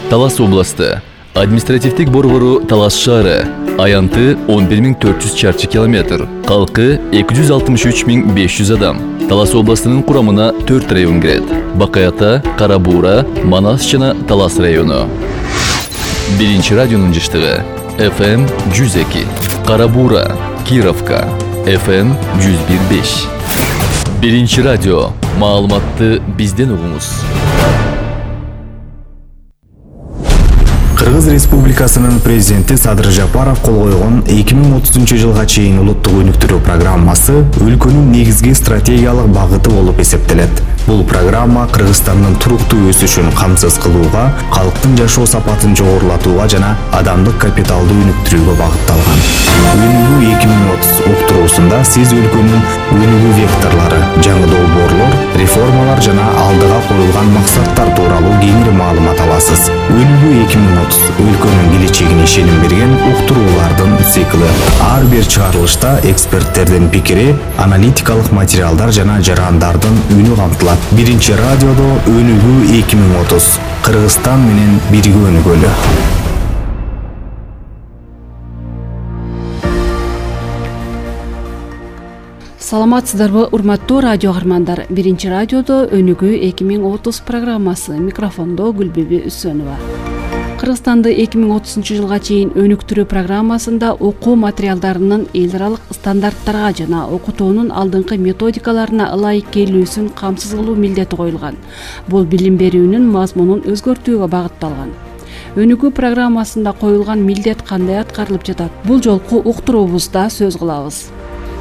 Талас областы. Административдик борбору Талас шаары. Аянты он бир миң төрт жүз чарчы километр. Калкы эки жүз алтымыш үч миң беш жүз адам. Талас областынын курамына төрт район кирет. Бакаята, Карабуура, Манас жана Талас району. Биринчи радионун жыштыгы. эф эм жүз эки. Карабуура, Кировка. эф эм жүз бир беш. Биринчи радио. Маалыматты бизден угуңуз. Кыргыз Республикасынын президенти Садыр Жапаров кол койгон эки миң отузунчу жылга чейин улуттук өнүктүрүү программасы өлкөнүн негизги стратегиялык багыты болуп эсептелет. Бул программа Кыргызстандын туруктуу өсүшүн камсыз кылууга, калктын жашоо сапатын жогорулатууга жана адамдык капиталды өнүктүрүүгө багытталган. Өнүгүү эки миң отуз уктуруусунда сиз өлкөнүн өнүгүү векторлору, жаңы долбоорлор, реформалар жана алдыга коюлган максаттар тууралуу кеңири маалымат аласыз. Өнүгүү эки миң отуз өлкөнүн келечегине ишеним берген уктуруулардын циклы. Ар бир чыгарылышта эксперттердин пикири, аналитикалык материалдар жана жарандардын үнү камтылат. Биринчи радиодо өнүгүү эки миң отуз. Кыргызстан менен бирге өнүгөлү. Саламатсыздарбы, урматтуу радио каармандар. Биринчи радиодо өнүгүү эки миң отуз программасы. Микрофондо Гүлбүбү Үсөнова. Кыргызстанды эки миң отузунчу жылга чейин өнүктүрүү программасында окуу материалдарынын эл аралык стандарттарга жана окутуунун алдыңкы методикаларына ылайык келүүсүн камсыз кылуу милдети коюлган. Бул билим берүүнүн мазмунун өзгөртүүгө багытталган. Өнүгүү программасында коюлган милдет кандай аткарылып жатат? Бул жолку уктуруубузда сөз кылабыз.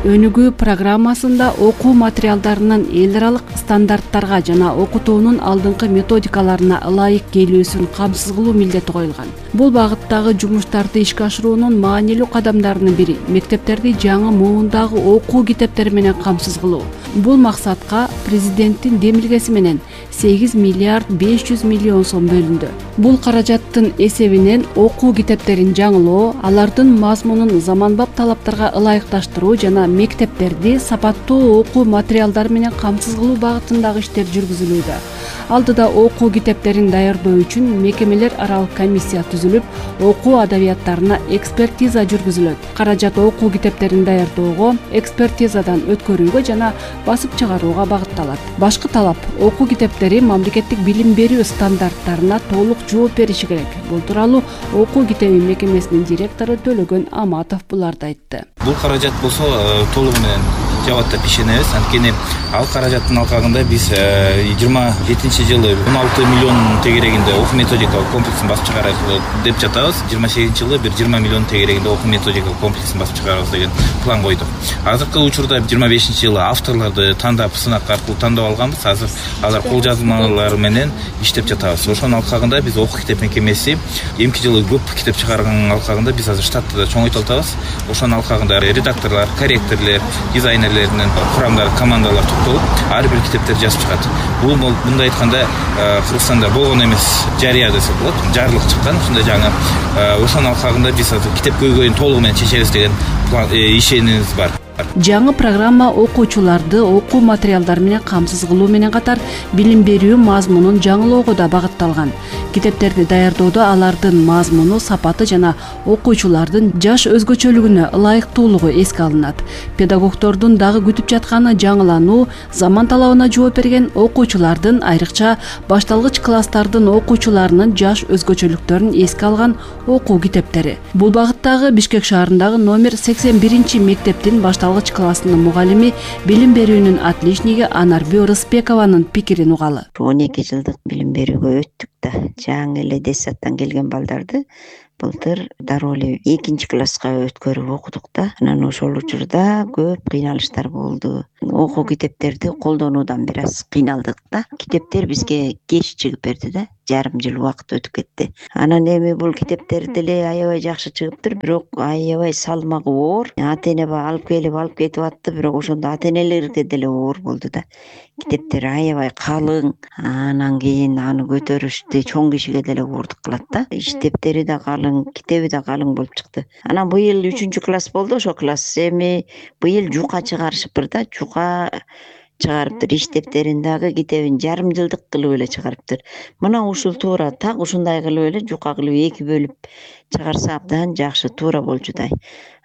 Өнүгүү программасында окуу материалдарынын эл аралык стандарттарга жана окутуунун алдыңкы методикаларына ылайык келүүсүн камсыз кылуу милдети коюлган. Бул багыттагы жумуштарды ишке ашыруунун маанилүү кадамдарынын бири мектептерди жаңы муундагы окуу китептери менен камсыз кылуу. Бул максатка президенттин демилгеси менен сегиз миллиард беш жүз миллион сом бөлүндү. Бул каражаттын эсебинен окуу китептерин жаңылоо, алардын мазмунун заманбап талаптарга ылайыкташтыруу жана мектептерди сапаттуу окуу материалдары менен камсыз кылуу багытындагы иштер жүргүзүлүүдө. Алдыда окуу китептерин даярдоо үчүн мекемелер аралык комиссия түзүлүп, окуу адабияттарына экспертиза жүргүзүлөт. Каражат окуу китептерин даярдоого, экспертизадан өткөрүүгө жана басып чыгарууга багытталат. Башкы талап окуу китептери мамлекеттик билим берүү стандарттарына толук жооп бериши керек. Бул тууралуу окуу китеби мекемесинин директору Төлөгөн Аматов буларды айтты. Бул каражат болсо толугу менен жабаттап ишенебиз. Анткени ал каражаттын алкагында биз жыйырма жетинчи жылы он алты миллион тегерегинде окуу методикалык комплексин басып чыгарабыз деп жатабыз. жыйырма сегизинчи жылы бир жыйырма миллион тегерегинде окуу методикалык комплексин басып чыгарабыз деген план койдук. Азыркы учурда жыйырма бешинчи жылы авторлорду тандап, сынак аркылуу тандап алганбыз. Азыр алар кол жазмалары менен иштеп жатабыз. Ошонун алкагында биз окуу китеп мекемеси эмки жылы көп китеп чыгарганын алкагында биз азыр штатты да чоңойтултабыз. Ошонун алкагында редакторлор, корректорлор, дизайнерлердин курамдары, командалар топтолуп, ар бир китептерди жазып чыгат. Бул мындай айтканда Кыргызстанда болгон эмес, жарыя десек болот, жарлык чыккан ушундай жаңы. Ошонун алкагында биз азыр китеп көйгөйүн толугу менен чечебиз деген ишенимибиз бар. Жаңы программа окуучуларды окуу материалдары менен камсыз кылуу менен катар билим берүү мазмунун жаңылоого да багытталган. Китептерди даярдоодо алардын мазмуну, сапаты жана окуучулардын жаш өзгөчөлүгүнө ылайыктуулугу эске алынат. Педагогдордун дагы күтүп жатканы жаңылануу, заман талабына жооп берген окуучулардын, айрыкча башталгыч класстардын окуучуларынын жаш өзгөчөлүктөрүн эске алган окуу китептери. Бул багыттагы Бишкек шаарындагы номер сексен биринчи мектептин башталгыч классынын мугалими, билим берүүнүн отличниги Анарбүй Рысбекованын пикирин угалы. он эки жылдык билим берүүгө өттүк да, жаңы эле детсадтан келген балдарды былтыр дароо эле экинчи класска өткөрүп окудук да. Анан ошол учурда көп кыйналыштар болду. Окуу китептерди колдонуудан бир аз кыйналдык да. Китептер бизге кеч чыгып берди да. Жарым жыл убакыт өтүп кетти. Анан эми бул китептер деле аябай жакшы чыгыптыр, бирок аябай салмагы оор. Ата эне алып келип алып кетип атты, бирок ошондо ата энелерге деле оор болду да. Китептер аябай калың. Анан кийин аны көтөрүштү чоң кишиге деле оордук кылат да. Иштептери да калың, китеби да калың болуп чыкты. Анан быйыл үчүнчү класс болду, ошол класс эми быйыл жука чыгарышыптыр да. Жука чыгарыптыр, иштептерин дагы китебин жарым жылдык кылып эле чыгарыптыр. Мына ушул туура так ушундай кылып эле жука кылып эки бөлүп чыгарса абдан жакшы, туура болчудай.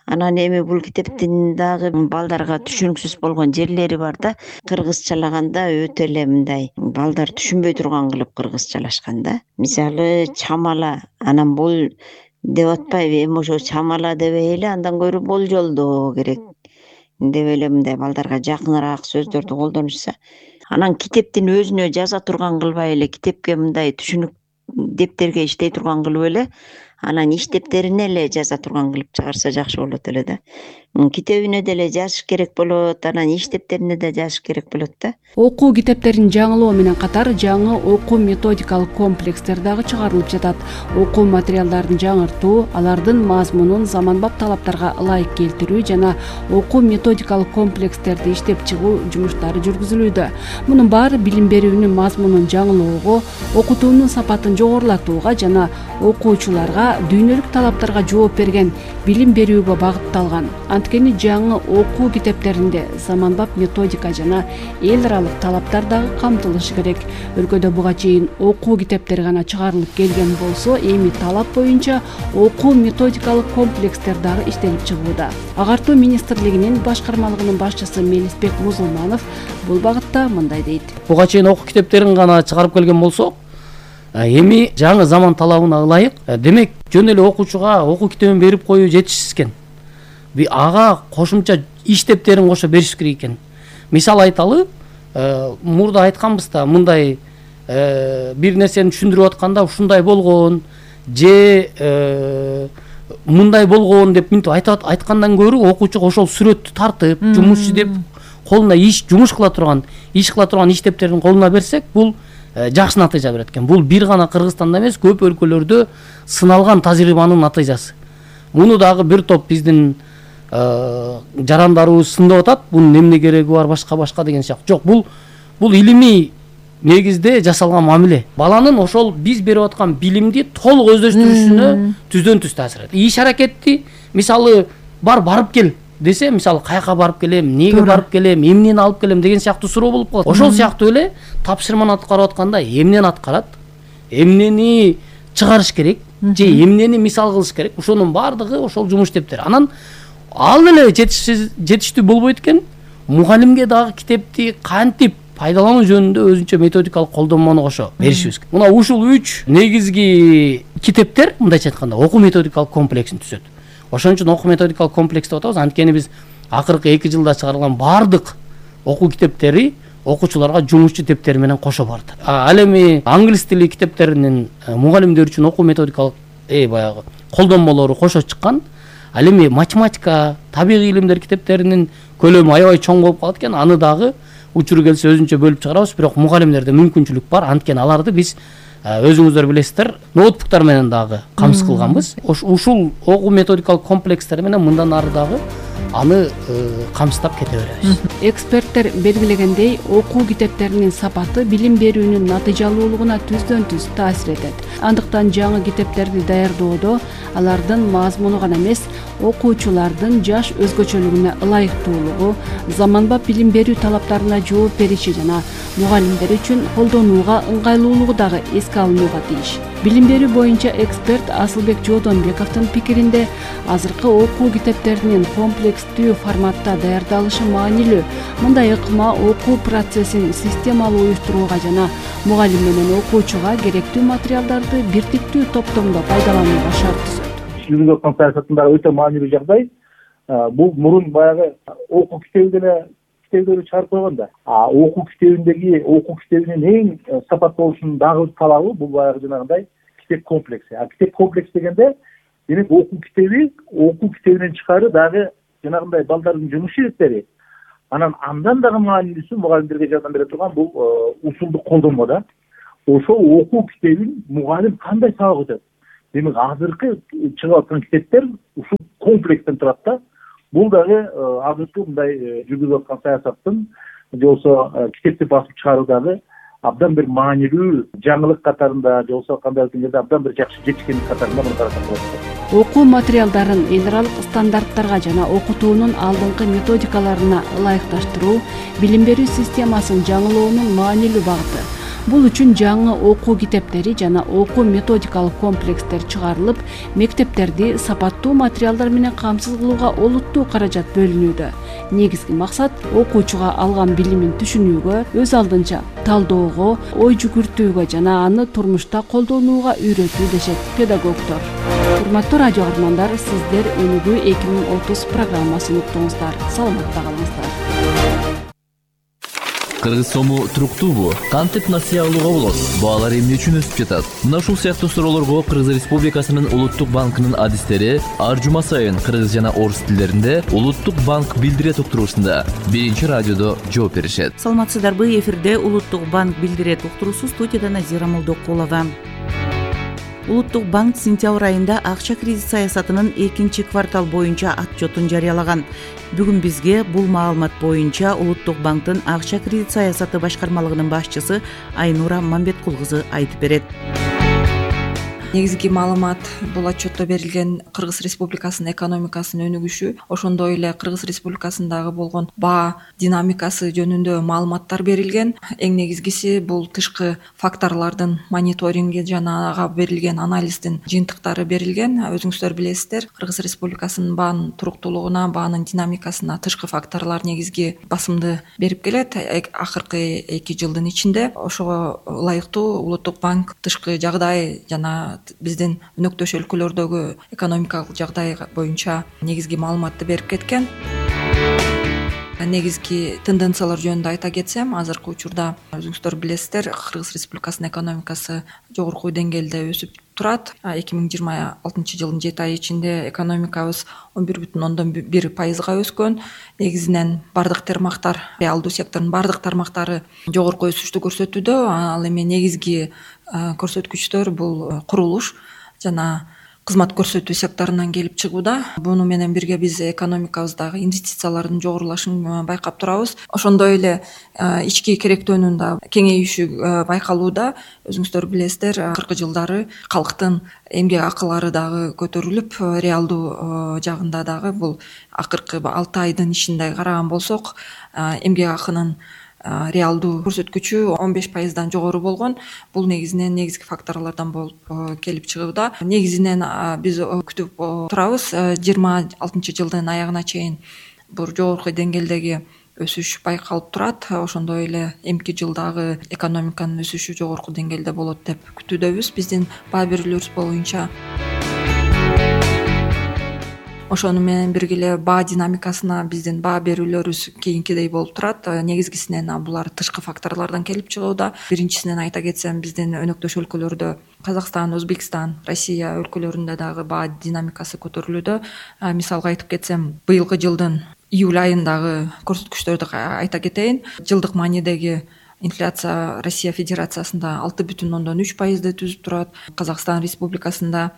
Анан эми бул китептин дагы балдарга түшүнүксүз болгон жерлери бар да. Кыргызчалаганда өтө эле мындай балдар түшүнбөй турган кылып кыргызчалашкан да. Мисалы чамала, анан бул деп атпайбы, эми ошо чамала дебей эле андан көрү болжолдоо керек деп эле мындай балдарга жакыныраак сөздөрдү колдонушса. Анан китептин өзүнө жаза турган кылбай эле, китепке мындай түшүнүк дептерге иштей турган кылып эле, анан иштептерине эле жаза турган кылып чыгарса жакшы болот эле да. Китебине деле жазыш керек болот, анан иштептерине да жазыш керек болот да. Окуу китептерин жаңылоо менен катар жаңы окуу методикалык комплекстер дагы чыгарылып жатат. Окуу материалдарын жаңыртуу, алардын мазмунун заманбап талаптарга ылайык келтирүү жана окуу методикалык комплекстерди иштеп чыгуу жумуштары жүргүзүлүүдө. Мунун баары билим берүүнүн мазмунун жаңылоого, окутуунун сапатын жогорулатууга жана окуучуларга дүйнөлүк талаптарга жооп берген билим берүүгө багытталган. Анткени жаңы окуу китептеринде заманбап методика жана эл аралык талаптар дагы камтылышы керек. Өлкөдө буга чейин окуу китептери гана чыгарылып келген болсо, эми талап боюнча окуу методикалык комплекстер дагы иштелип чыгууда. Агартуу министрлигинин башкармалыгынын башчысы Мелисбек Музулманов бул багытта мындай дейт. Буга чейин окуу китептерин гана чыгарып келген болсок, эми жаңы заман талабына ылайык, демек жөн эле окуучуга окуу китебин берип коюу жетишсиз экен. Ага кошумча иштептерин кошо бериш керек экен. Мисал айталы, мурда айтканбыз да, мындай бир нерсени түшүндүрүп атканда ушундай болгон же мындай болгон деп мынтип айтат айткандан көрө окуучуга ошол сүрөттү тартып, жумуш издеп колуна иш жумуш кыла турган, иш кыла турган иштептерин колуна берсек, бул жакшы натыйжа берет экен. Бул бир гана Кыргызстанда эмес, көп өлкөлөрдө сыналган тажрыйбанын натыйжасы. Муну дагы бир топ биздин жарандарыбыз сындап атат. Бунун эмне кереги бар, башка башка деген сыяктуу. Жок, бул бул илимий негизде жасалган мамиле. Баланын ошол биз берип аткан билимди толук өздөштүрүшүнө түздөн түз таасир этет. Иш аракетти мисалы бар барып кел десе, мисалы каяка барып келем, эмнеге барып келем, эмнени алып келем деген сыяктуу суроо болуп калат. Ошол сыяктуу эле тапшырманы аткарып атканда эмнени аткарат, эмнени чыгарыш керек, же эмнени мисал кылыш керек, ошонун баардыгы ошол жумуш иштептери. Анан ал эле жетишсиз жетиштүү болбойт экен. Мугалимге дагы китепти кантип пайдалануу жөнүндө өзүнчө методикалык колдонмону кошо беришибиз керек. Мына ушул үч негизги китептер, мындайча айтканда, окуу методикалык комплексин түзөт. Ошон үчүн окуу методикалык комплекс деп атабыз. Анткени биз акыркы эки жылда чыгарылган баардык окуу китептери окуучуларга жумушчу тептери менен кошо барды. Ал эми англис тили китептеринин мугалимдер үчүн окуу методикалык э баягы колдонмолору кошо чыккан. Ал эми математика, табигый илимдер китептеринин көлөмү аябай чоң болуп калат экен. Аны дагы учуру келсе өзүнчө бөлүп чыгарабыз, бирок мугалимдерде мүмкүнчүлүк бар. Анткени аларды биз өзүңүздөр билесиздер, ноутбуктар менен дагы камсыз кылганбыз. Ушул окуу методикалык комплекстер менен мындан ары дагы аны камсыздап кете беребиз. Эксперттер белгилегендей, окуу китептеринин сапаты билим берүүнүн натыйжалуулугуна түздөн түз таасир этет. Андыктан жаңы китептерди даярдоодо алардын мазмуну гана эмес, окуучулардын жаш өзгөчөлүгүнө ылайыктуулугу, заманбап билим берүү талаптарына жооп бериши жана мугалимдер үчүн колдонууга ыңгайлуулугу дагы эске алынууга тийиш. Билим берүү боюнча эксперт Асылбек Жодонбековдун пикиринде, азыркы окуу китептеринин комплекстүү форматта даярдалышы маанилүү. Мындай ыкма окуу процессин системалуу уюштурууга жана мугалим менен окуучуга керектүү материалдарды бир типтүү топтомдо пайдаланууга шарт түзөт. Жүргүзүп аткан саясатындагы өтө маанилүү жагдай. Бул мурун баягы окуу китеби деле китептерди чыгарып койгон да. А окуу китебиндеги окуу китебинин эң сапаттуу болушунун дагы талабы бул баягы жанагындай китеп комплекси. А китеп комплекс дегенде демек окуу китеби, окуу китебинен тышкары дагы жанагындай балдардын жумуш иретleri. Анан андан дагы маанилүүсү мугалимдерге жардам бере турган бул усулдук колдонмо да. Ошол окуу китебин мугалим кандай сабак өтөт? Демек азыркы чыгып аткан китептер ушул комплекстен турат да. Бул дагы азыркы мындай жүргүзүп аткан саясаттын же болбосо китепти басып чыгаруудагы абдан бир маанилүү жаңылык катарында, же болбосо кандай деңгээлде абдан бир жакшы жетишкендик катарында муну карасак болот. Окуу материалдарын эл аралык стандарттарга жана окутуунун алдыңкы методикаларына ылайыкташтыруу билим берүү системасын жаңылоонун маанилүү багыты. Бул үчүн жаңы окуу китептери жана окуу методикалык комплекстер чыгарылып, мектептерди сапаттуу материалдар менен камсыз кылууга олуттуу каражат бөлүнүүдө. Негизги максат окуучуга алган билимин түшүнүүгө, өз алдынча талоого, ой жүгүртүүгө жана аны турмушта колдонууга үйрөтүү дешет педагогдор. Урматтуу радио каармандар, сиздер Өнүгүү эки миң отуз программасын уктуңуздар. Саламатта калыңыздар. Кыргыз сому туруктуубу? Кантип насыя алууга болот? Баалар эмне үчүн өсүп жатат? Мына ушул сыяктуу суроолорго Кыргыз Республикасынын Улуттук банкынын адистери ар жума сайын кыргыз жана орус тилдеринде Улуттук банк билдирет уктуруусунда биринчи радиодо жооп беришет. Саламатсыздарбы, эфирде Улуттук банк билдирет уктуруусу, студияда Назира Молдокулова. Улуттук банк сентябрь айында акча кредит саясатынын экинчи квартал боюнча отчетун жарыялаган. Бүгүн бизге бул маалымат боюнча Улуттук банктын акча кредит саясаты башкармалыгынын башчысы Айнура Мамбеткул кызы айтып берет. Негизги маалымат бул отчетто берилген Кыргыз Республикасынын экономикасынын өнүгүшү, ошондой эле Кыргыз Республикасындагы болгон баа динамикасы жөнүндө маалыматтар берилген. Эң негизгиси бул тышкы факторлордун мониторинги жана ага берилген анализдин жыйынтыктары берилген. Өзүңүздөр билесиздер, Кыргыз Республикасынын баанын туруктуулугуна, баанын динамикасына тышкы факторлор негизги басымды берип келет акыркы эки жылдын ичинде. Ошого ылайыктуу Улуттук банк тышкы жагдай жана биздин өнөктөш өлкөлөрдөгү экономикалык жагдай боюнча негизги маалыматты берип кеткен. Негизги тенденциялар жөнүндө айта кетсем, азыркы учурда өзүңүздөр билесиздер, Кыргыз Республикасынын экономикасы жогорку деңгээлде өсүп турат. эки миң жыйырма алтынчы жылдын жети айы ичинде экономикабыз он бир бүтүн ондон бир пайызга өскөн. Негизинен бардык тармактар, реалдуу сектордун бардык тармактары жогорку өсүштү көрсөтүүдө. Ал эми негизги көрсөткүчтөр бул курулуш жана кызмат көрсөтүү секторунан келип чыгууда. Буну менен бирге биз экономикабыздагы инвестициялардын жогорулашын байкап турабыз. Ошондой эле ички керектөөнүн да кеңейиши байкалууда. Өзүңүздөр билесиздер, акыркы жылдары калктын эмгек акылары дагы көтөрүлүп, реалдуу жагында дагы бул акыркы алты айдын ичинде караган болсок, эмгек акынын реалдуу көрсөткүчү он беш пайыздан жогору болгон. Бул негизинен негизги факторлордон болуп келип чыгууда. Негизинен биз күтүп турабыз жыйырма алтынчы жылдын аягына чейин бул жогорку деңгээлдеги өсүш байкалып турат. Ошондой эле эмки жылдагы экономиканын өсүшү жогорку деңгээлде болот деп күтүүдөбүз биздин баа берүүлөрүбүз боюнча. Ошону менен бирге эле баа динамикасына биздин баа берүүлөрүбүз кийинкидей болуп турат. Негизгисинен булар тышкы факторлордон келип чыгууда. Биринчисинен айта кетсем, биздин өнөктөш өлкөлөрдө Казакстан, Өзбекстан, Россия өлкөлөрүндө дагы баа динамикасы көтөрүлүүдө. Мисалга айтып кетсем, быйылкы жылдын июль айындагы көрсөткүчтөрдү айта кетейин. Жылдык маанидеги инфляция Россия Федерациясында алты бүтүн ондон үч пайызды түзүп турат, Казакстан Республикасында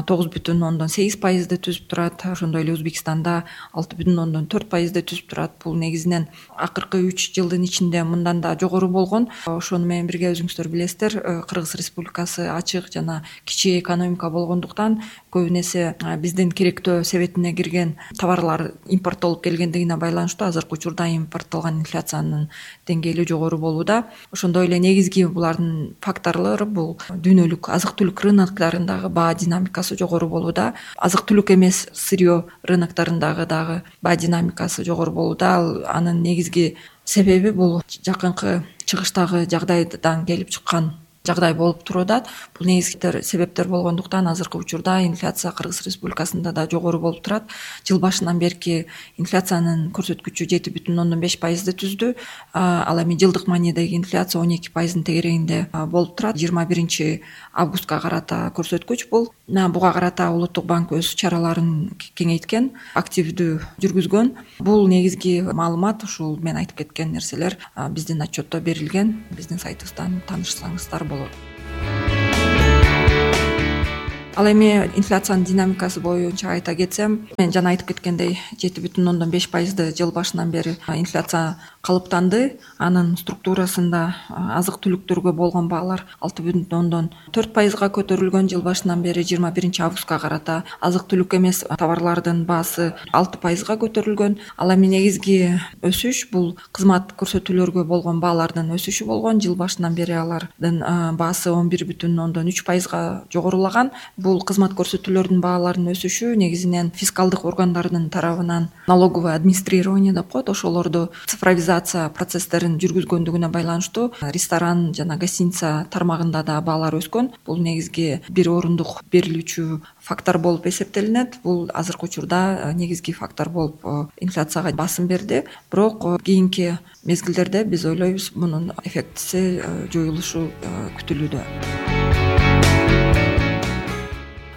тогуз бүтүн ондон сегиз пайызды түзүп турат, ошондой эле Өзбекстанда алты бүтүн ондон төрт пайызды түзүп турат. Бул негизинен акыркы үч жылдын ичинде мындан да жогору болгон. Ошону менен бирге өзүңүздөр билесиздер, Кыргыз Республикасы ачык жана кичи экономика болгондуктан көбүн эсе биздин керектөө себетине кирген товарлар импорттолуп келгендигине байланыштуу азыркы учурда импорттолгон инфляциянын деңгээли жогору болууда. Ошондой эле негизги булардын факторлору бул дүйнөлүк азык-түлүк рыноктарындагы баа динамикасы жогору болууда. Азык-түлүк эмес сырьё рыноктарындагы дагы баа динамикасы жогору болууда. Анын негизги себеби бул жакынкы чыгыштагы жагдайдан келип чыккан жагдай болуп турат. Бул негизги себептер болгондуктан азыркы учурда инфляция Кыргыз Республикасында да жогору болуп турат. Жыл башынан берки инфляциянын көрсөткүчү жети бүтүн ондон беш пайызды түздү. Ал эми жылдык маанидеги инфляция он эки пайыздын тегерегинде болуп турат. жыйырма биринчи августка карата көрсөткүч бул. Буга карата Улуттук банк өз чараларын кеңейткен, активдүү жүргүзгөн. Бул негизги маалымат, ушул мен айтып кеткен нерселер биздин отчетто берилген. Биздин сайтыбыздан таанышсаңыздар болот. Ал эми инфляциянын динамикасы боюнча айта кетсем, мен жана айтып кеткендей жети бүтүн ондон беш пайызды жыл башынан бери инфляция калыптанды. Анын структурасында азык-түлүктөргө болгон баалар алты бүтүн ондон төрт пайызга көтөрүлгөн. Жыл башынан бери жыйырма биринчи августка карата азык-түлүк эмес товарлардын баасы алты пайызга көтөрүлгөн. Ал эми негизги өсүш бул кызмат көрсөтүүлөргө болгон баалардын өсүшү болгон. Жыл башынан бери алардын баасы он бир бүтүн ондон үч пайызга жогорулаган. Бул кызмат көрсөтүүлөрдүн бааларынын өсүшү негизинен фискалдык органдардын тарабынан налоговое администрирование деп коет, ошолорду цифровизация процесстерин жүргүзгөндүгүнө байланыштуу ресторан жана гостиница тармагында да баалар өскөн. Бул негизги бир орундук берилүүчү фактор болуп эсептелинет. Бул азыркы учурда негизги фактор болуп инфляцияга басым берди. Бирок кийинки мезгилдерде биз ойлойбуз мунун эффектиси жоюлушу күтүлүүдө.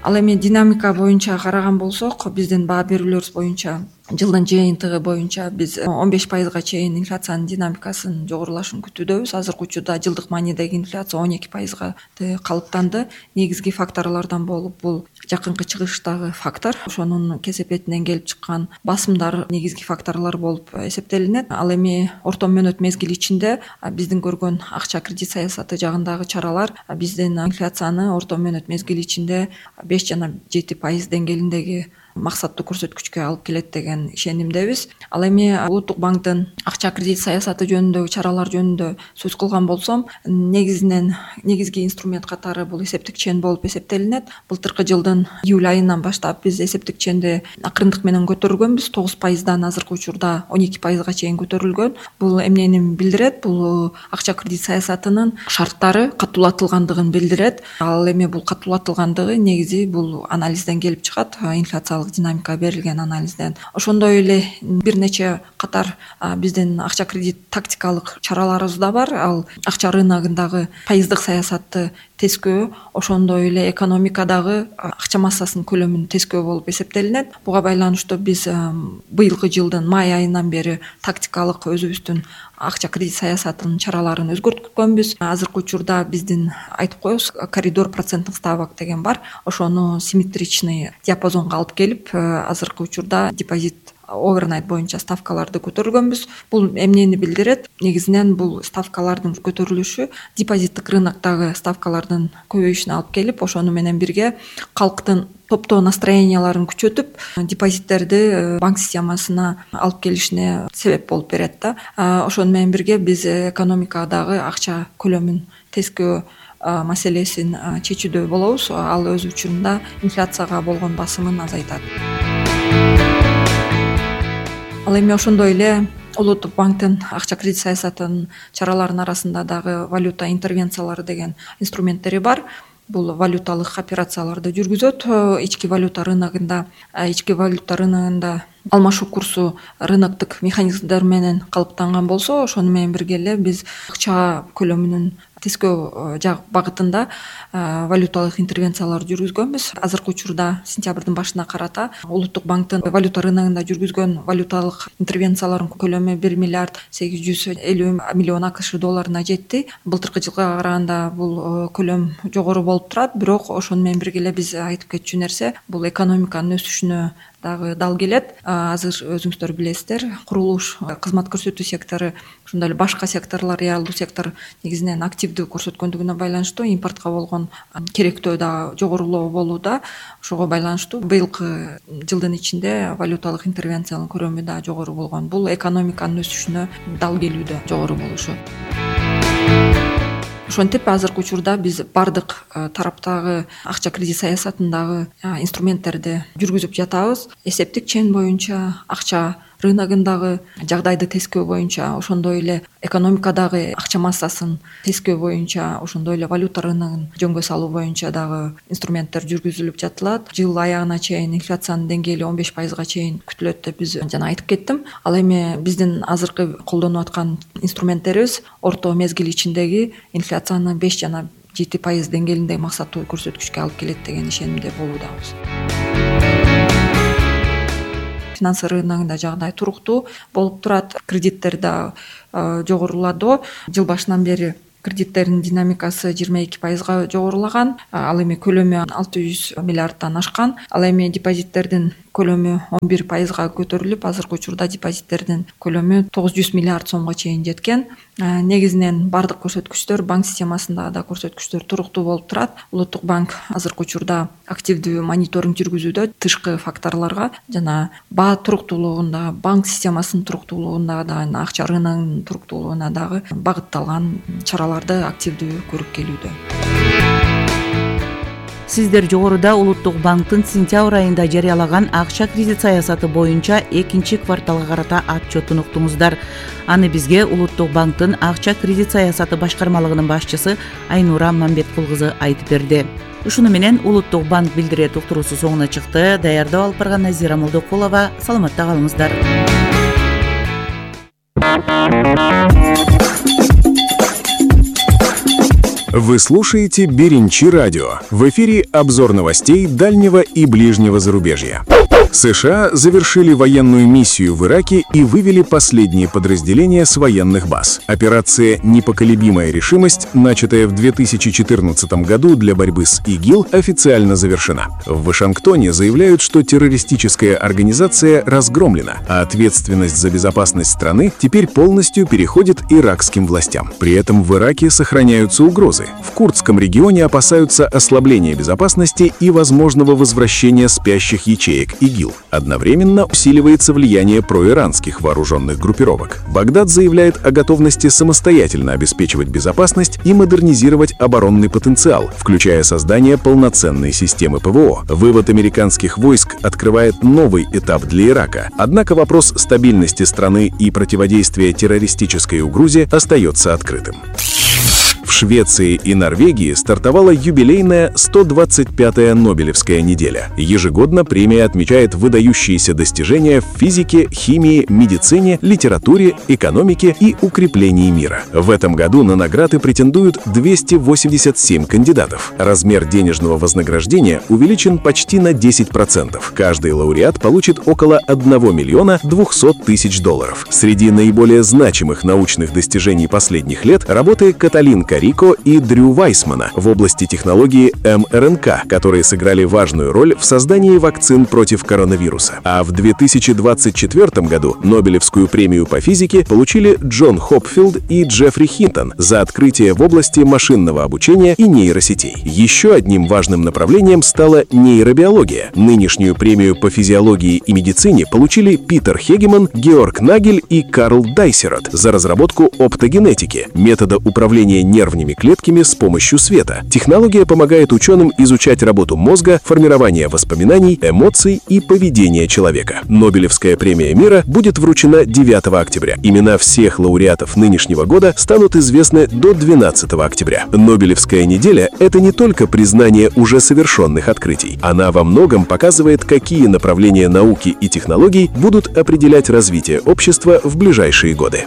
Ал эми динамика боюнча караган болсок, биздин баа берүүлөрүбүз боюнча жылдын жыйынтыгы боюнча биз он беш пайызга чейин инфляциянын динамикасынын жогорулашын күтүүдөбүз. Азыркы учурда жылдык маанидеги инфляция он эки пайызга калыптанды. Негизги факторлордон болуп бул жакынкы чыгыштагы фактор, ошонун кесепетинен келип чыккан басымдар негизги факторлор болуп эсептелинет. Ал эми орто мөөнөт мезгил ичинде биздин көргөн акча кредит саясаты жагындагы чаралар биздин инфляцияны орто мөөнөт мезгил ичинде беш жана жети пайыз деңгээлиндеги максаттуу көрсөткүчкө алып келет деген ишенимдебиз. Ал эми Улуттук банктын акча кредит саясаты жөнүндөгү чаралар жөнүндө сөз кылган болсом, негизинен негизги инструмент катары бул эсептик чен болуп эсептелинет. Былтыркы жылдын июль айынан баштап биз эсептик ченди акырындык менен көтөргөнбүз. тогуз пайыздан азыркы учурда он эки пайызга чейин көтөрүлгөн. Бул эмнени билдирет? Бул акча кредит саясатынын шарттары катуулатылгандыгын билдирет. Ал эми бул катуулатылгандыгы негизи бул анализден келип чыгат, инфляция динамика берилген анализден. Ошондой эле бир нече катар биздин акча кредит тактикалык чараларыбыз да бар. Ал акча рыногундагы пайыздык саясатты тескөө, ошондой эле экономикадагы акча массасынын көлөмүн тескөө болуп эсептелинет. Буга байланыштуу биз быйылкы жылдын май айынан бери тактикалык өзүбүздүн акча кредит саясатынын чараларын өзгөрткөнбүз. Азыркы учурда биздин айтып коебуз коридор проценттик ставок деген бар. Ошону симметричный диапазонго алып келип, азыркы учурда депозит овернайт боюнча ставкаларды көтөргөнбүз. Бул эмнени билдирет? Негизинен бул ставкалардын көтөрүлүшү депозиттик рыноктогу ставкалардын көбөйүшүнө алып келип, ошону менен бирге калктын топтоо настроенияларын күчөтүп, депозиттерди банк системасына алып келишине себеп болуп берет да. Ошону менен бирге биз экономикадагы акча көлөмүн тескөө маселесин чечүүдө болобуз. Ал өз учурунда инфляцияга болгон басымын азайтат. Ал эми ошондой эле Улуттук банктын акча кредит саясатынын чараларынын арасында дагы валюта интервенциялары деген инструменттери бар. Бул валюталык операцияларды жүргүзөт. Ички валюта рыногунда, ички валюта рыногунда алмашуу курсу рыноктук механизмдер менен калыптанган болсо, ошону менен бирге эле биз акча көлөмүнүн тескөө жак багытында валюталык интервенциялар жүргүзгөнбүз. Азыркы учурда сентябрдын башына карата Улуттук банктын валюта рыногунда жүргүзгөн валюталык интервенциялардын көлөмү бир миллиард сегиз жүз элүү миллион акш долларына жетти. Былтыркы жылга караганда бул көлөм жогору болуп турат, бирок ошону менен бирге эле биз айтып кетчү нерсе бул экономиканын өсүшүнө дагы дал келет. Азыр өзүңүздөр билесиздер, курулуш, кызмат көрсөтүү сектору, ошондой эле башка секторлор, реалдуу сектор негизинен активдүү көрсөткөндүгүнө байланыштуу импортко болгон керектөө дагы жогорулоо болууда. Ошого байланыштуу быйылкы жылдын ичинде валюталык интервенциянын көрөмү да жогору болгон. Бул экономиканын өсүшүнө дал келүүдө жогору болушу. Ошентип азыркы учурда биз бардык тараптагы акча кредит саясатындагы инструменттерди жүргүзүп жатабыз. Эсептик чен боюнча, акча рыногундагы жагдайды тескөө боюнча, ошондой эле экономикадагы акча массасын тескөө боюнча, ошондой эле валюта рыногун жөнгө салуу боюнча дагы инструменттер жүргүзүлүп жатылат. Жыл аягына чейин инфляциянын деңгээли он беш пайызга чейин күтүлөт деп биз жана айтып кеттим. Ал эми биздин азыркы колдонуп аткан инструменттерибиз орто мезгил ичиндеги инфляцияны беш жана жети пайыз деңгээлинде максаттуу көрсөткүчкө алып келет деген ишенимде болуудабыз. Финансы рыногунда жагдай туруктуу болуп турат. Кредиттер да жогоруладо. Жыл башынан бери кредиттердин динамикасы жыйырма эки пайызга жогорулаган. Ал эми көлөмү алты жүз миллиарддан ашкан. Ал эми депозиттердин көлөмү он бир пайызга көтөрүлүп, азыркы учурда депозиттердин көлөмү тогуз жүз миллиард сомго чейин жеткен. Негизинен бардык көрсөткүчтөр, банк системасында да көрсөткүчтөр туруктуу болуп турат. Улуттук банк азыркы учурда активдүү мониторинг жүргүзүүдө тышкы факторлорго жана баа туруктуулугунда, банк системасынын туруктуулугунда да, акча рыногунун туруктуулугуна дагы багытталган чараларды активдүү көрүп келүүдө. Сиздер жогоруда Улуттук банктын сентябрь айында жарыялаган акча кредит саясаты боюнча экинчи кварталга карата отчетун уктуңуздар. Аны бизге Улуттук банктын акча кредит саясаты башкармалыгынын башчысы Айнура Мамбеткул кызы айтып берди. Ушуну менен Улуттук банк билдирет уктуруусу соңуна чыкты. Даярдап алып барган Назира Молдокулова. Саламатта калыңыздар. Вы слушаете Беринчи радио. В эфире обзор новостей дальнего и ближнего зарубежья. США завершили военную миссию в Ираке и вывели последние подразделения с военных баз. Операция «Непоколебимая решимость», начатая в две тысячи четырнадцатом году для борьбы с ИГИЛ, официально завершена. В Вашингтоне заявляют, что террористическая организация разгромлена, а ответственность за безопасность страны теперь полностью переходит иракским властям. При этом в Ираке сохраняются угрозы. В курдском регионе опасаются ослабления безопасности и возможного возвращения спящих ячеек ИГИЛ. Одновременно усиливается влияние проиранских вооруженных группировок. Багдад заявляет о готовности самостоятельно обеспечивать безопасность и модернизировать оборонный потенциал, включая создание полноценной системы ПВО. Вывод американских войск открывает новый этап для Ирака. Однако вопрос стабильности страны и противодействия террористической угрозе остается открытым. В Швеции и Норвегии стартовала юбилейная сто двадцать пятая Нобелевская неделя. Ежегодно премия отмечает выдающиеся достижения в физике, химии, медицине, литературе, экономике и укреплении мира. В этом году на награды претендуют двести восемьдесят семь кандидатов. Размер денежного вознаграждения увеличен почти на десять процентов. Каждый лауреат получит около одного миллиона двухсот тысяч долларов. Среди наиболее значимых научных достижений последних лет работы Каталин Карико и Дрю Вайсмана в области технологии эм эр эн ка, которые сыграли важную роль в создании вакцин против коронавируса. А в две тысячи двадцать четвёртом году Нобелевскую премию по физике получили Джон Хопфилд и Джеффри Хинтон за открытие в области машинного обучения и нейросетей. Еще одним важным направлением стала нейробиология. Нынешнюю премию по физиологии и медицине получили Питер Хегеман, Георг Нагель и Карл Дайсерот за разработку оптогенетики, метода управления нервными клетками с помощью света. Технология помогает ученым изучать работу мозга, формирование воспоминаний, эмоций и поведения человека. Нобелевская премия мира будет вручена девятого октября. Имена всех лауреатов нынешнего года станут известны до двенадцатого октября. Нобелевская неделя — это не только признание уже совершенных открытий. Она во многом показывает, какие направления науки и технологий будут определять развитие общества в ближайшие годы.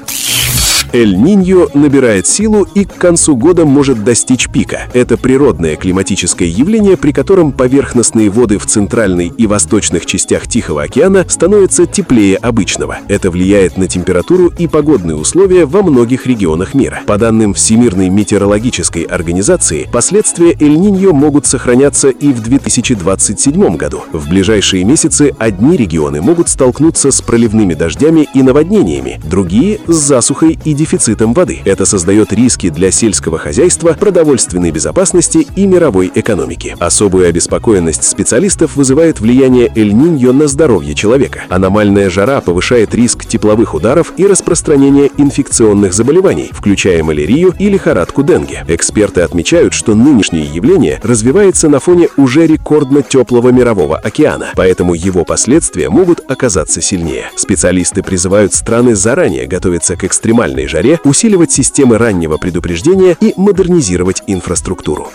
Эль-Ниньо набирает силу и к концу года может достичь пика. Это природное климатическое явление, при котором поверхностные воды в центральной и восточных частях Тихого океана становятся теплее обычного. Это влияет на температуру и погодные условия во многих регионах мира. По данным Всемирной метеорологической организации, последствия Эль-Ниньо могут сохраняться и в две тысячи двадцать седьмом году. В ближайшие месяцы одни регионы могут столкнуться с проливными дождями и наводнениями, другие — с засухой и дефицитом воды. Это создает риски для сельского хозяйства, продовольственной безопасности и мировой экономики. Особую обеспокоенность специалистов вызывает влияние Эль-Ниньо на здоровье человека. Аномальная жара повышает риск тепловых ударов и распространения инфекционных заболеваний, включая малярию и лихорадку денге. Эксперты отмечают, что нынешнее явление развивается на фоне уже рекордно теплого мирового океана, поэтому его последствия могут оказаться сильнее. Специалисты призывают страны заранее готовиться к экстремальной жаре, усиливать системы раннего предупреждения и модернизировать инфраструктуру.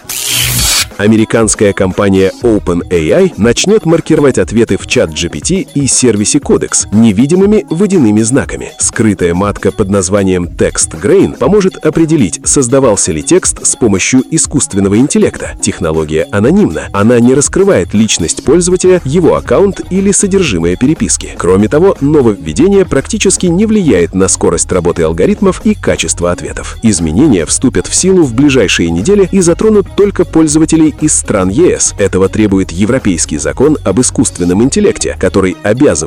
Американская компания OpenAI начнет маркировать ответы в чат джи пи ти и сервисе Codex невидимыми водяными знаками. Скрытая матка под названием TextGrain поможет определить, создавался ли текст с помощью искусственного интеллекта. Технология анонимна. Она не раскрывает личность пользователя, его аккаунт или содержимое переписки. Кроме того, нововведение практически не влияет на скорость работы алгоритмов и качество ответов. Изменения вступят в силу в ближайшие недели и затронут только пользователей из стран е эс. Этого требует Европейский закон об искусственном интеллекте, который обязывает